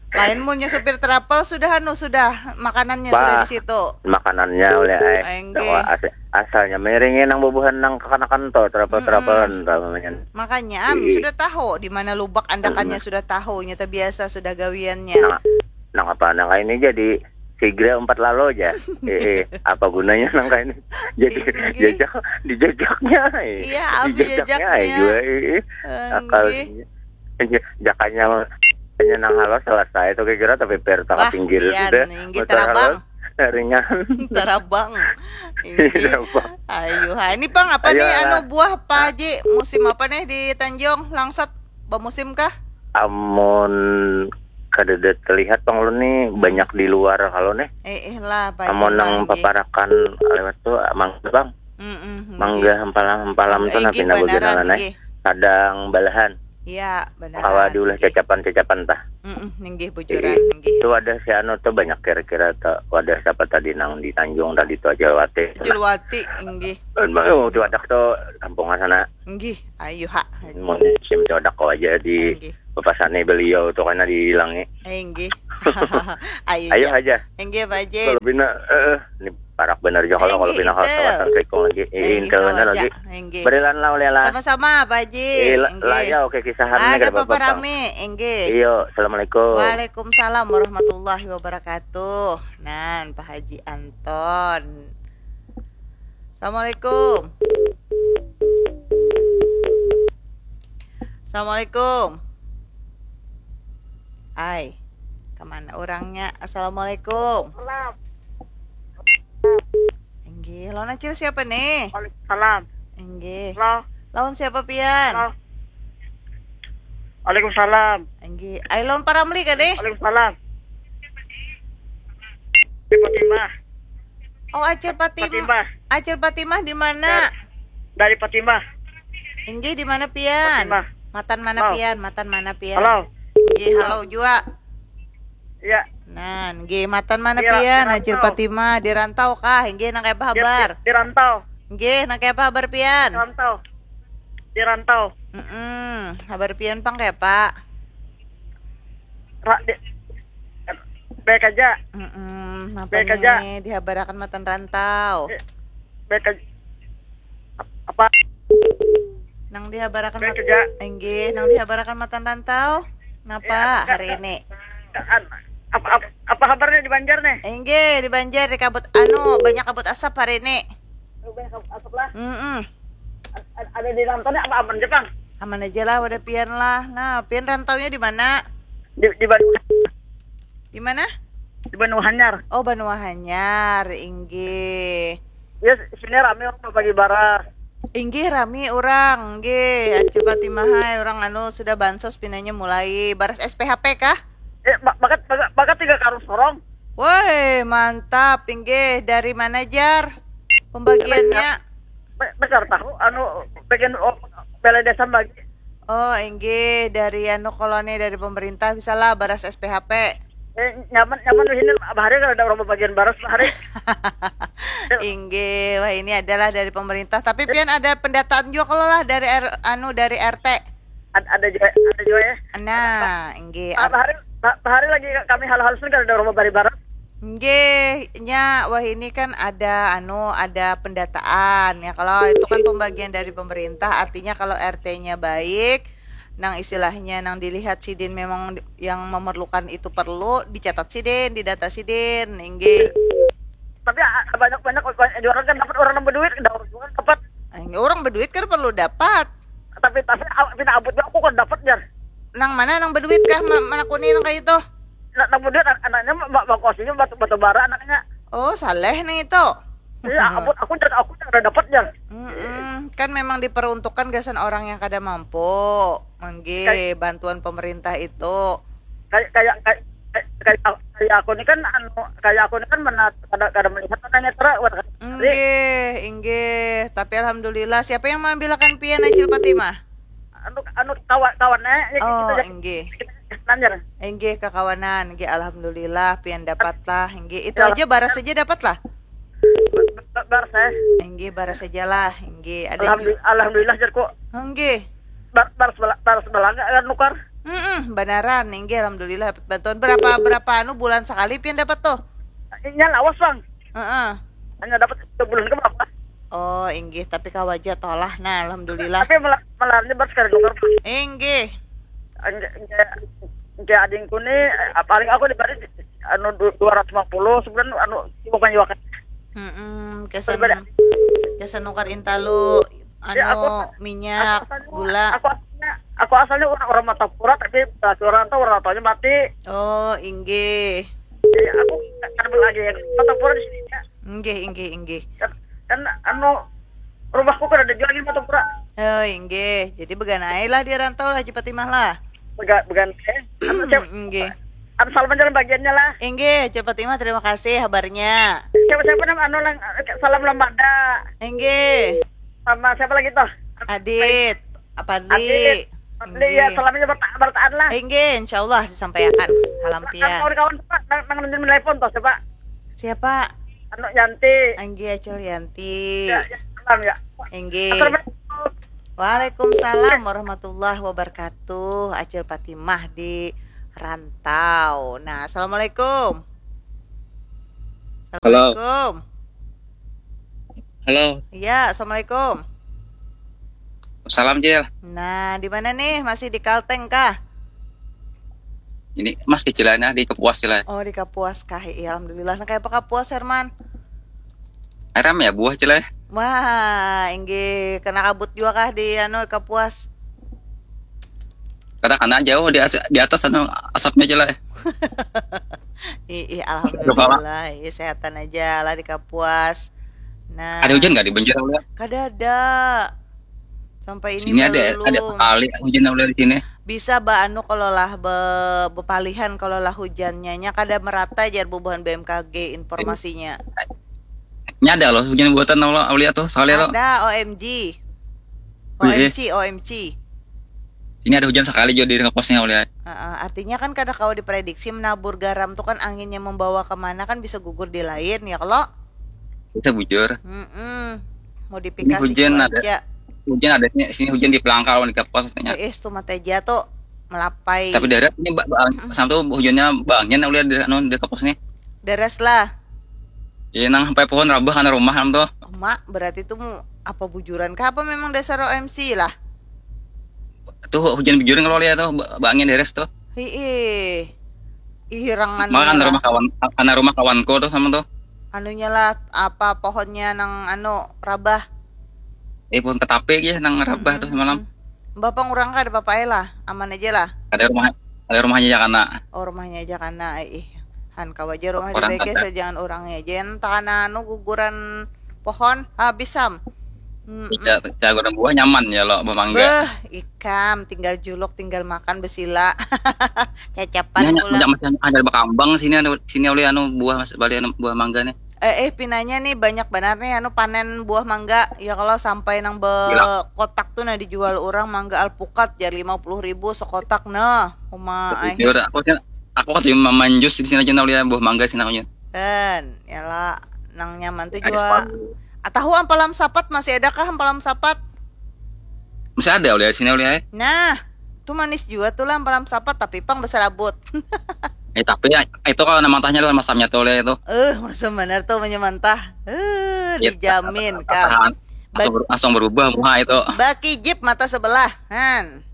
Lain munnya supir travel sudah anu sudah makanannya bah, sudah di situ. Makanannya oleh ai. Enggih. Asalnya miringin nang bubuhan nang kakanakan to travel travelan mm -mm. Namanya. Makanya ami sudah tahu di mana lubak andakannya mm -mm. Sudah tahu nyata biasa sudah gawiannya. Nang, nang apa nang ini jadi sigra empat lalo aja. Eh, eh, apa gunanya nang kayak ini? Jadi jajak dijajaknya. Eh. Iya, apa jajaknya? Jajaknya. Juga, eh, eh. Akal. Jakanya hanya nang halus selesai itu kira tapi per tengah pinggir sudah. Inggih terabang. Ringan. Terabang. Inggih. Ayo, ha. Ini pang apa nih anu buah Pak Haji? Musim apa nih di Tanjung Langsat? Bamusim kah? Amun kada terlihat pang ulun nih hmm. Banyak di luar kalau nih. Eh, eh lah, amun nang paparakan lewat tuh mangga bang. Mm -mm, mangga hampalam hampalam tuh nah pindah bujur nah nih. Kadang balahan. Iya, benar. Kawa diulah cacapan-cacapan tah. Mm -mm, ninggih bujuran, ninggih. Itu wadah si anu tuh banyak kira-kira tuh wadah siapa tadi nang di Tanjung tadi tuh Ajalwati. Ajalwati, ninggih. Emang tuh wadah tuh kampungan sana. Nggih, ayu ha. Mun sim codak kau aja di bapasani beliau tu kana dihilangi. Nggih. Ayu aja. Nggih, Pak Haji. Kalau bina eh ni parak benar juga kalau kalau bina kawasan Sekong lagi. Eh, intel benar lagi. Berilan lah oleh lah. Sama-sama Pak Haji. Lah ya oke kisahan ada apa-apa rame. Nggih. Iyo, assalamualaikum. Waalaikumsalam warahmatullahi wabarakatuh. Nan Pak Haji Anton. Assalamualaikum. Assalamualaikum. Ai, kemana orangnya? Assalamualaikum. Salam. Enggih, lawan acil siapa nih? Waalaikumsalam. Enggih. Halo. Lawan siapa pian? Halo. Waalaikumsalam. Enggih. Ai lawan Paramli kah deh? Waalaikumsalam. Di Fatimah. Oh, Acil Fatimah. Fatimah. Acil Fatimah di mana? Dari, dari Fatimah. Inggih di mana pian? Fatimah. Matan mana halo. Pian? Matan mana pian? Halo. Inggih, halo jua. Iya. Nah, inggih matan mana iya, pian? Acil Fatimah di rantau kah? Inggih nang kayak apa habar? Di, di, di rantau. Inggih nang kayak apa habar pian? Di rantau. Di rantau. Mm -mm. Habar pian pang kayak apa? Ra, di, Baik aja. Mm-mm, napa baik aja. Nih dihabarakan matan rantau? Eh, baik aja. Apa? Nang dihabarakan baik mat- aja. Enggih, nang dihabarakan matan rantau. Napa eh, hari ini? Apa, apa, apa habarnya di Banjar nih? Enggih, di Banjar di kabut anu banyak kabut asap hari ini. Banyak kabut asap lah. Mm-mm. Ada di rantau apa aman aja, Bang? Aman aja lah, wadah pian lah. Nah, pian rantaunya di mana? Di, di Bandung. Di mana? Di Banua Hanyar. Oh, Banua Hanyar, inggih. Ya, sini rame orang bagi baras. Inggih rame orang, inggih. Acil Fatimah hai, orang anu sudah bansos pinanya mulai baras S P H P kah? Eh, bakat bakat bakat tiga karung sorong. Woi, mantap, inggih. Dari mana jar? Pembagiannya? Besar tahu anu bagian oh, balai desa bagi. Oh, inggih dari anu koloni dari pemerintah misalnya baras S P H P. Eh, nyaman, nyaman di sini, bahari kada ada urang babagian baras, bahari. Inggih, wah, ini adalah dari pemerintah. Tapi pian ada pendataan jua kalo lah dari R, anu, dari R T. Ad-, ada jua, ada jua ya. Nah, inggih. Ah, bahari, bah-, bahari lagi kami hal-hal sun kada ada urang babari baras. Inggih, nya, wah, ini kan ada, anu, ada pendataan ya. Kalau itu kan pembagian dari pemerintah, artinya kalau R T-nya baik, nang istilahnya nang dilihat sidin memang yang memerlukan itu perlu, dicatat sidin, didata sidin, inggih. Tapi, ah, banyak, banyak, banyak jua kan dapat, urang nang baduit, daur jua kan dapat. Inggih, urang baduit kan perlu dapat. Tapi, tapi, ah, pina abut jua aku kan dapat, jar. Nang mana nang baduit kah ma-, manakuni nang kaya itu? Nah, nang baduit an-, anaknya ma-, ma-, bakos ini batu, batu bara anaknya. Oh, saleh nang itu. Iya, abut aku, jar, aku jar kada dapat, jar. Mm-mm. Kan memang diperuntukkan gasan orang yang kada mampu. Inggih, bantuan pemerintah itu. Kayak, kayak, kayak, kayak, kayak, kayak aku ni kan, anu, kayak aku ni kan mana kada, kada melihat anaknya tara, wah, kada. Inggih, inggih. Tapi alhamdulillah, siapa yang mengambilakan pian, Acil Fatimah? Anu, anu, kawan, kawan, eh, ya, Oh, kita, inggih. kita nanya. Inggih, kakawanan. Inggih, alhamdulillah, pian dapat lah. Inggih, itu Ya. Aja baras aja dapat lah. Ba-, ba-, baras, eh. Inggih, baras aja lah. Inggih, ada Alhamdulillah, alhamdulillah, jarku. Inggih. Bar-, baras bala-, baras balanga kan nukar. Mm-mm, banaran, inggih, alhamdulillah dapat bantuan. Berapa, berapa anu bulan sekali pian dapat tuh? Inya lawas, Bang. Heeh. Hanya dapat sebulan ke berapa? Oh, inggih, tapi kawaja tolah. Nah, alhamdulillah. Tapi malah, malah ini baru sekali nukar, Bang. Inggih. Enggak, enggak, enggak, adingku ni, eh, paling aku diberi, anu, du-, dua ratus lima puluh sebulan, anu, bukan juga kan. Mm-mm, kesan, kesan nukar intalu, anu, Ya, aku, minyak, aku asalnya, gula. Aku asalnya, aku asalnya orang, orang Martapura, tapi berarti orang tahu, orang tuanya mati. Oh, inggih. Jadi aku kan lagi ya, Martapura di sini ya. Inggih, inggih, inggih. Kan, kan, anu, rumahku kan ada juga di Martapura. Oh, inggih. Jadi beganai lah di rantau lah, Haji Fatimah lah. Began, began, eh. Anu, siapa, Inggih. Anu, salam aja lah bagiannya lah. Inggih, Haji Fatimah, terima kasih kabarnya. Siapa, siapa nama anu, lang, salam lamada. Inggih. Sama siapa lagi tuh? Adit, Apandi. Adit. Adit, ya, Inggih. Salamnya berta-, bertaan lah. Inggih, insya Allah disampaikan. Salam Kan pian. Kawan-kawan, Pak, nang, nang, nang telepon tuh, siapa? Siapa? Anu, Yanti. Inggih, Acil Yanti. Ya, ya, salam ya. Inggih. Assalamualaikum. Waalaikumsalam warahmatullahi wabarakatuh. Acil Fatimah di rantau. Nah, assalamualaikum. Halo. Assalamualaikum. Halo. Iya, assalamualaikum. Salam, Cil. Nah, di mana nih? Masih di Kalteng kah? Ini Mas di Cilana, di Kapuas, Cil. Oh, di Kapuas kah? Iya, alhamdulillah. Nah, kayak apa Kapuas, Herman? Ram ya buah, Cil, ya. Wah, inggih, kena kabut juga kah di anu Kapuas? Kada kena, jauh di as-, di atas anu asapnya, Cil, ya. Ih, ih, alhamdulillah. Iya, sehatan aja lah di Kapuas. Nah, Ada hujan nggak di Banjar, Cil? Kada ada. Sampai ini Sini ada, belum. Ada sekali hujan, Cil, di sini. Bisa ba anu kalau lah be, bepalihan kalau lah hujannya nya kada merata, jar bubuhan B M K G informasinya. Ini ada loh hujan buatan Allah, Aulia tuh, sekali loh. Ada O M G. Wih, eh. O M C, O M C. Ini ada hujan sekali juga di Kapuasnya, Aulia. Heeh, artinya kan kada kawa diprediksi menabur garam tuh kan anginnya membawa kemana kan bisa gugur di lain ya kalau. Bisa bujur. Mm-mm. Mau Ini dipikasi hujan ada. Cuaca. Hujan ada sini, sini hujan di Pelangkal, di Kapuas katanya. Eh, eh, tuh mata aja tuh melapai. Tapi darat ini ba, ba, sama tuh hujannya bangin, Aulia, di anu, di Kapuas nih. Deres lah. Iya, nang sampai pohon rabah karena rumah, am, tuh. Mak, berarti tuh mu apa bujuran kah apa memang dasar O M C lah? Tuh hujan bujur kalau lihat tuh, ba, bangin deres tuh. Hiih. Ihirangan Maka karena lah. Rumah kawan, karena rumah kawanku tuh sama tuh. Anunya lah, apa pohonnya nang anu rabah. Eh, pohon ketape ya nang rabah tuh semalam. Bapak ngurang kada apa-apa lah, aman aja lah. Ada rumah, ada rumahnya ya karena. Oh, rumahnya aja karena, eh, ih. Han kawa aja rumah Orang dibeke ada. Jangan urangnya aja. Entah karena anu guguran pohon habis, Sam. Hmm. Iya, jagoan buah nyaman ya lo, buah mangga. Beuh, ikam tinggal juluk, tinggal makan, besila. Cacapan Ini hanya, pula. hanya masih ada berkambang sini, anu, sini oleh anu buah, mas, balik anu buah mangga nih. Eh, eh, pinanya nih banyak benar nih anu panen buah mangga. Ya kalau sampai nang Gila. Bekotak tuh nah dijual orang mangga alpukat ya lima puluh ribu sekotak nah. Uma ai. Jujur, aku sih Aku katuju mamanjus di sini aja, nah, uliah buah mangga sini aku nya. Kan, ya lah, nang nyaman tuh jua. Ada sepatu. Atahu ampalam sapat, masih adakah ampalam sapat? Masih ada uliah sini uliah. Eh. Nah, tuh manis jua tuh lah ampalam sapat, tapi pang beserabut. Eh, tapi ya, itu kalau nama tanya lah masamnya tuh uliah itu. Eh, masam benar tuh punya mantah. Eh, dijamin kau. Langsung, langsung berubah muha itu. Baki jip mata sebelah, han.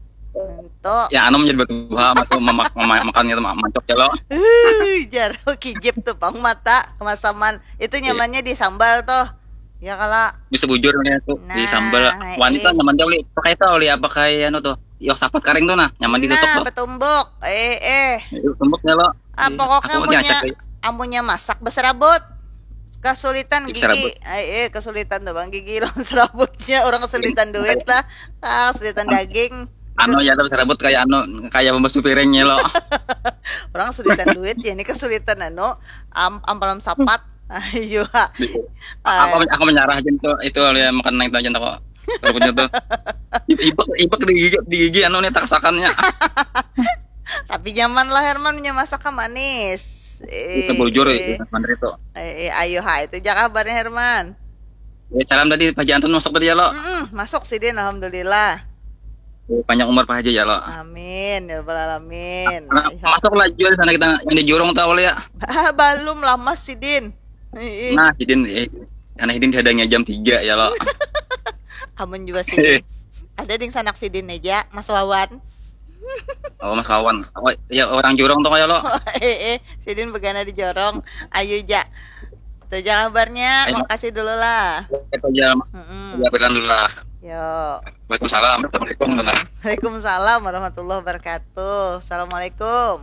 Tuh. Ya, anu menjadi batu buha, matu mamak, mamak, makan gitu, mancok ya lo. Uh, jaro kijip tuh pang mata kemasaman. Itu iya. Nyamannya di sambal tuh. Ya kala. Bisa bujur nih aku nah, di sambal. Wanita eh. Nyaman jauh pakai tahu li apa kayak anu tuh. Yok sapat karing tuh nah, nyaman di tutup nah, tuh. Betumbuk. Eh eh. Betumbuk ya lo. Ah, pokoknya amunnya amunnya masak beserabut kesulitan gigi. Eh, eh kesulitan tuh bang gigi lo serabutnya orang kesulitan duit lah. Ah, kesulitan daging. Anu ya tapi serabut kayak anu kayak pembesu piringnya lo. Orang kesulitan duit ya ini kesulitan anu am ampalam sapat. Ayo. Aku aku menyerah aja tuh itu ya makan naik aja kok. Serabutnya tuh. Ibak ibak di gigi di gigi anu nih taksakannya. Tapi nyaman lah Herman punya masakan manis. Eh, itu bujur ya, Herman itu. Eh, eh, ayo ha itu jaga kabarnya Herman. Ya, salam tadi Pak Haji Antun masuk tadi ya lo. Mm -mm, masuk sidin alhamdulillah. Banyak umur Pak Haji ya lo. Amin ya rabbal alamin. Nah, masuk lah jual sana kita yang di jurung tahu ya. Belum lama sidin. Nah sidin eh, karena sidin dihadangnya jam tiga ya lo. Amun juga sidin. Ada ding sanak sidin aja Mas Wawan. Oh Mas Wawan. Oh ya orang jurung tuh kayak lo. Eh eh, sidin begana di jorong. Ayo ja. Itu aja kabarnya. Ayo. Makasih dulu lah. Itu aja. Mm-mm. Ya dulu lah. Yo. Waalaikumsalam. Assalamualaikum. Waalaikumsalam warahmatullahi wabarakatuh. Assalamualaikum.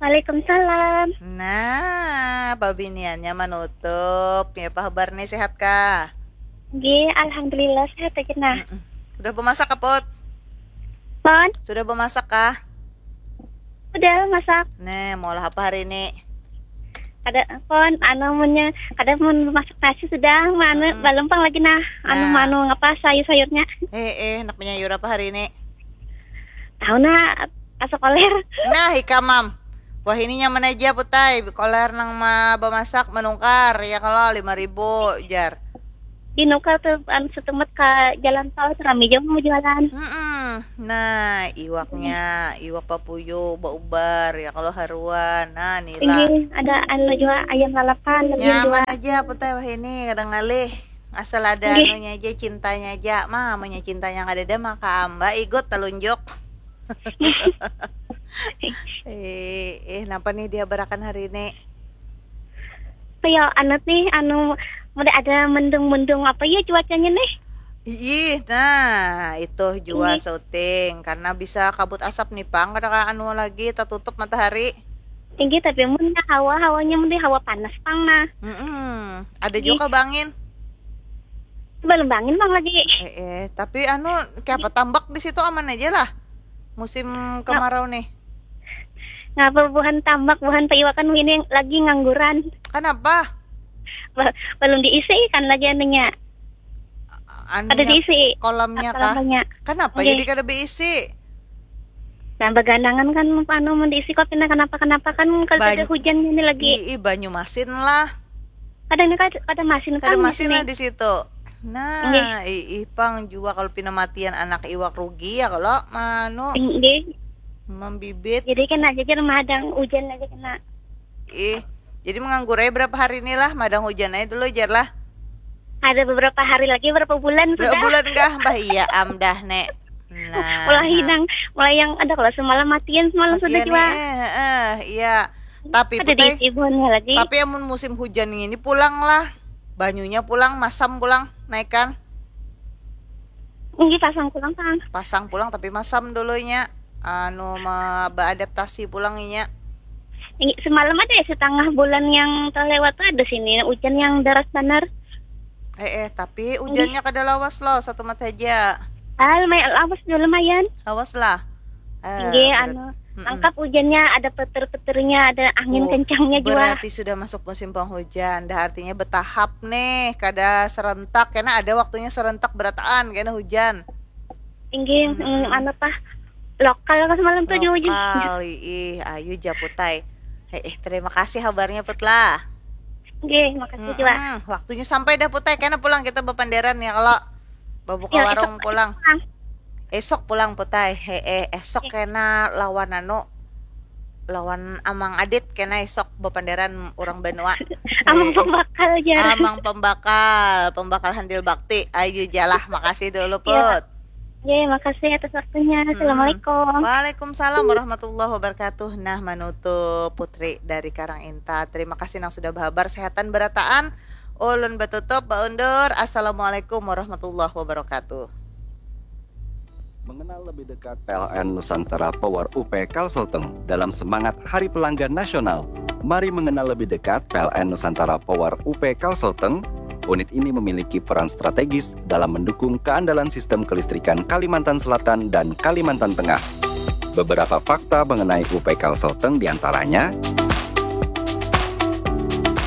Waalaikumsalam. Nah, pabiniannya menutup. Ya apa kabar nih sehat kah? G, alhamdulillah sehat aja nah. Mm-mm. Sudah bemasak kaput? Pon? Sudah bemasak kah? Udah masak. Nih, mau lah apa hari ini? Kada pon, anu munnya kada mun masak nasi sudah, mana hmm. Balempang lagi nah, anu nah. Manu apa sayur-sayurnya. Eh, eh, nak menyayur apa hari ini? Tahu nah, asa koler. Nah, ikam mam. Wah ini nyaman aja putai, koler nang ma bemasak menungkar ya kalau lima ribu jar. Di nuka tuh anu setumet ke jalan tol tuh rame jauh mau jualan. Hmm, nah iwaknya, iwak papuyu, baubar ya kalau haruan. Nah nila. Ini ada anu juga ayam lalapan. Nyaman aja apa teh wah ini kadang ngalih. Asal ada Gih. Anunya aja cintanya aja. Mamanya cintanya kada ada maka amba igut telunjuk. eh, eh, napa nih dia berakan hari ini? Kayak anak nih anu udah ada mendung-mendung apa ya cuacanya nih? Ih, nah itu jua Ini. Syuting karena bisa kabut asap nih pang kada anu lagi tertutup matahari. Tinggi tapi mun hawa hawanya mun hawa panas pang nah. Mm-mm. Ada Tinggi. Juga bangin. Belum bangin bang lagi. Eh, eh. Tapi anu kayak apa tambak di situ aman aja lah. Musim kemarau nih. Ngapa buhan tambak buhan paiwakan ini lagi ngangguran. Kenapa? Belum diisi kan lagi anunya. Anu ada diisi kolamnya kah? Kenapa okay. Jadi kada berisi? Nah, baganangan kan anu mun diisi kok pina kenapa-kenapa kan kalau ada hujan ini lagi. Ih, banyu masin lah. Kadang kada, kada masin kada kan masin lah di situ. Nah, ih, ih pang jua kalau pina matian anak iwak rugi ya kalau manu. Nggih. Membibit. Jadi kan aja jar madang hujan aja kena. Ih, jadi menganggur aja berapa hari ini lah, madang hujan aja dulu jar lah. Ada beberapa hari lagi berapa bulan berapa sudah. Berapa bulan kah? Bah iya am dah nek. Nah, mulai nah. Hidang, mulai yang ada kalau semalam matian semalam matian sudah juga. Eh, eh, iya. Tapi ada putai, di lagi. Tapi amun musim hujan ini pulang lah. Banyunya pulang, masam pulang, naikkan. Ini pasang pulang, Kang. Pasang pulang tapi masam dulunya. Anu ma, beadaptasi pulang inya. Ini semalam ada ya setengah bulan yang terlewat tuh ada sini hujan yang deras benar. Eh eh tapi hujannya kada lawas loh satu mata aja. Ah, lumayan lawas juga lumayan. Lawas lah. Eh, Nggih, anu Mm-mm. Lengkap hujannya, ada petir-petirnya, ada angin oh, kencangnya juga. Berarti sudah masuk musim penghujan, dah artinya bertahap nih, kada serentak, karena ada waktunya serentak berataan karena hujan. Tinggi, mm, mm, anu tah, Lokal pas malam tuh jauh jauh. Lokal, ih, ayu ja Putai. Eh, eh, terima kasih habarnya Put lah. Oke, makasih juga. Mm-mm. Waktunya sampai dah Putai, kena pulang kita bapanderan ya kalau babuka Ya, warung esok pulang. pulang. Esok pulang Putai. He eh, esok kena lawan anu, lawan Amang Adit kena esok bapanderan orang banua. Amang He eh. Pembakal aja. Amang Pembakal, Pembakal Handil Bakti. Ayu jalah, makasih dulu Put. Oke, makasih atas waktunya. Assalamualaikum. Waalaikumsalam warahmatullahi wabarakatuh. Nah, manutup Putri dari Karang Inta. Terima kasih nang sudah bahabar. Sehatan berataan. Ulun batutup, baundur. Assalamualaikum warahmatullahi wabarakatuh. Mengenal lebih dekat P L N Nusantara Power U P Kalselteng dalam semangat Hari Pelanggan Nasional. Mari mengenal lebih dekat P L N Nusantara Power U P Kalselteng. Unit ini memiliki peran strategis dalam mendukung keandalan sistem kelistrikan Kalimantan Selatan dan Kalimantan Tengah. Beberapa fakta mengenai U P Kalselteng diantaranya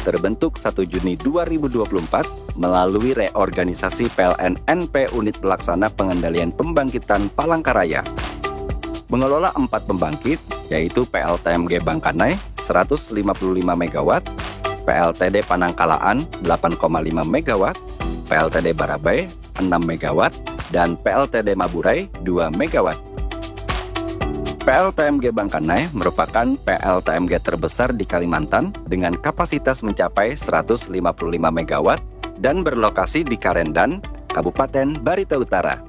terbentuk satu Juni dua ribu dua puluh empat melalui reorganisasi P L N N P Unit Pelaksana Pengendalian Pembangkitan Palangkaraya. Mengelola empat pembangkit, yaitu P L T M G Bangkanai seratus lima puluh lima megawatt, P L T D Panangkalaan delapan koma lima megawatt, P L T D Barabai enam megawatt, dan P L T D Maburai dua megawatt. P L T M G Bangkanai merupakan P L T M G terbesar di Kalimantan dengan kapasitas mencapai seratus lima puluh lima megawatt dan berlokasi di Karendan, Kabupaten Barito Utara.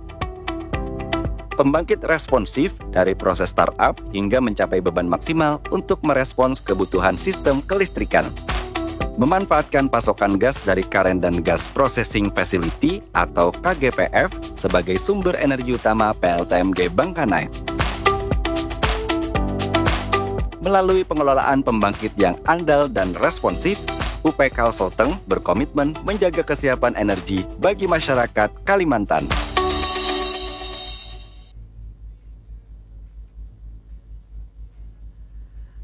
Pembangkit responsif dari proses startup hingga mencapai beban maksimal untuk merespons kebutuhan sistem kelistrikan. Memanfaatkan pasokan gas dari Karendan Gas Processing Facility atau K G P F sebagai sumber energi utama P L T M G Bangkanai. Melalui pengelolaan pembangkit yang andal dan responsif, U P Kalselteng berkomitmen menjaga kesiapan energi bagi masyarakat Kalimantan.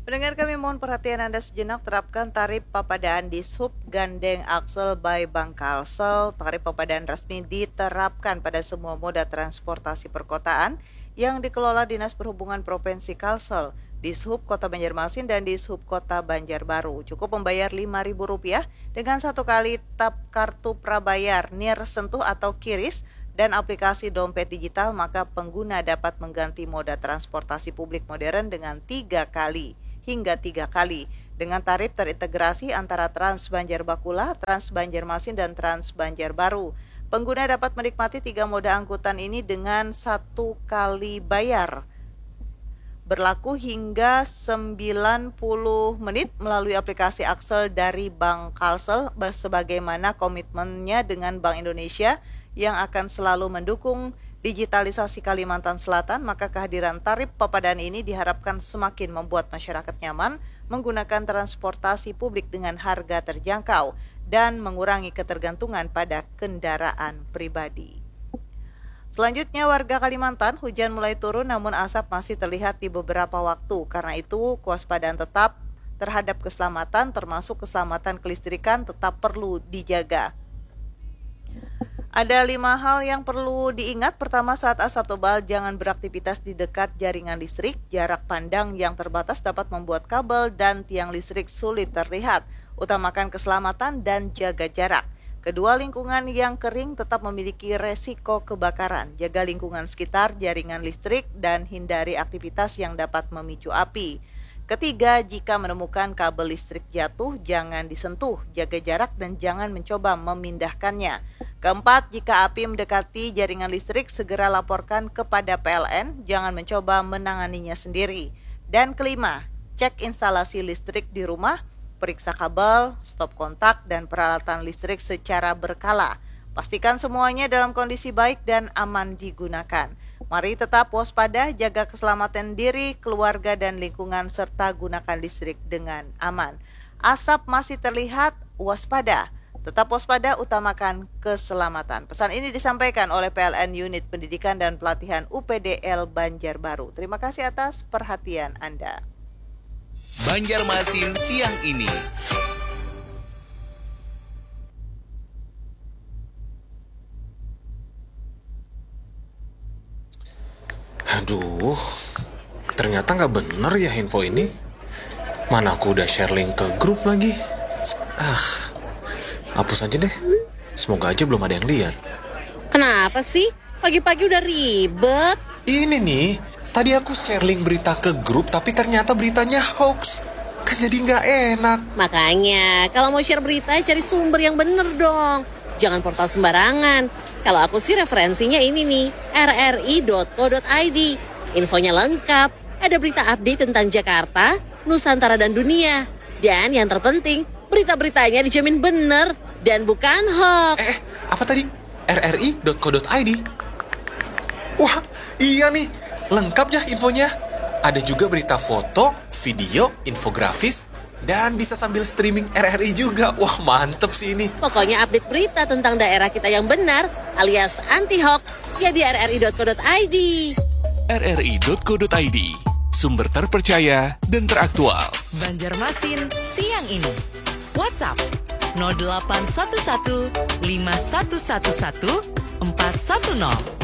Pendengar kami mohon perhatian Anda sejenak, terapkan tarif papadaan di Sub Gandeng Axel by Bank Kalsel. Tarif papadaan resmi diterapkan pada semua moda transportasi perkotaan yang dikelola Dinas Perhubungan Provinsi Kalsel, di Sub Kota Banjarmasin dan di Sub Kota Banjarbaru. Cukup membayar lima ribu rupiah dengan satu kali tap kartu prabayar NIR Sentuh atau QRIS dan aplikasi dompet digital, maka pengguna dapat mengganti moda transportasi publik modern dengan tiga kali hingga tiga kali dengan tarif terintegrasi antara Trans Banjar Bakula, Trans Banjarmasin, dan Trans Banjarbaru. Pengguna dapat menikmati tiga moda angkutan ini dengan satu kali bayar berlaku hingga sembilan puluh menit melalui aplikasi Axel dari Bank Kalsel, ba- sebagaimana komitmennya dengan Bank Indonesia yang akan selalu mendukung digitalisasi Kalimantan Selatan, maka kehadiran tarif papadaan ini diharapkan semakin membuat masyarakat nyaman menggunakan transportasi publik dengan harga terjangkau dan mengurangi ketergantungan pada kendaraan pribadi. Selanjutnya, warga Kalimantan, hujan mulai turun namun asap masih terlihat di beberapa waktu. Karena itu, kewaspadaan tetap terhadap keselamatan, termasuk keselamatan kelistrikan, tetap perlu dijaga. Ada lima hal yang perlu diingat. Pertama, saat asap tebal, jangan beraktivitas di dekat jaringan listrik. Jarak pandang yang terbatas dapat membuat kabel dan tiang listrik sulit terlihat. Utamakan keselamatan dan jaga jarak. Kedua, lingkungan yang kering tetap memiliki resiko kebakaran. Jaga lingkungan sekitar jaringan listrik dan hindari aktivitas yang dapat memicu api. Ketiga, jika menemukan kabel listrik jatuh, jangan disentuh, jaga jarak, dan jangan mencoba memindahkannya. Keempat, jika api mendekati jaringan listrik, segera laporkan kepada P L N, jangan mencoba menanganinya sendiri. Dan kelima, cek instalasi listrik di rumah, periksa kabel, stop kontak, dan peralatan listrik secara berkala. Pastikan semuanya dalam kondisi baik dan aman digunakan. Mari tetap waspada, jaga keselamatan diri, keluarga, dan lingkungan, serta gunakan listrik dengan aman. Asap masih terlihat, waspada. Tetap waspada, utamakan keselamatan. Pesan ini disampaikan oleh P L N Unit Pendidikan dan Pelatihan U P D L Banjarbaru. Terima kasih atas perhatian Anda. Banjarmasin siang ini. Aduh, Ternyata nggak bener ya info ini. Mana aku udah share link ke grup lagi. Ah, hapus aja deh. Semoga aja belum ada yang lihat. Kenapa sih? Pagi-pagi udah ribet. Ini nih, tadi aku share link berita ke grup tapi ternyata beritanya hoax. Kan jadi nggak enak. Makanya, kalau mau share berita, cari sumber yang bener dong. Jangan portal sembarangan. Kalau aku sih referensinya ini nih, rri.co.id. Infonya lengkap. Ada berita update tentang Jakarta, Nusantara dan dunia. Dan yang terpenting, berita-beritanya dijamin bener dan bukan hoax. Eh, apa tadi? rri.co.id. Wah, iya nih, lengkap ya infonya. Ada juga berita foto, video, infografis, dan bisa sambil streaming RRI juga. Wah, mantep sih ini. Pokoknya update berita tentang daerah kita yang benar alias anti hoax ya di rri.co.id. rri.co.id, sumber terpercaya dan teraktual. Banjarmasin siang ini. WhatsApp nol delapan satu satu lima satu satu satu empat satu nol.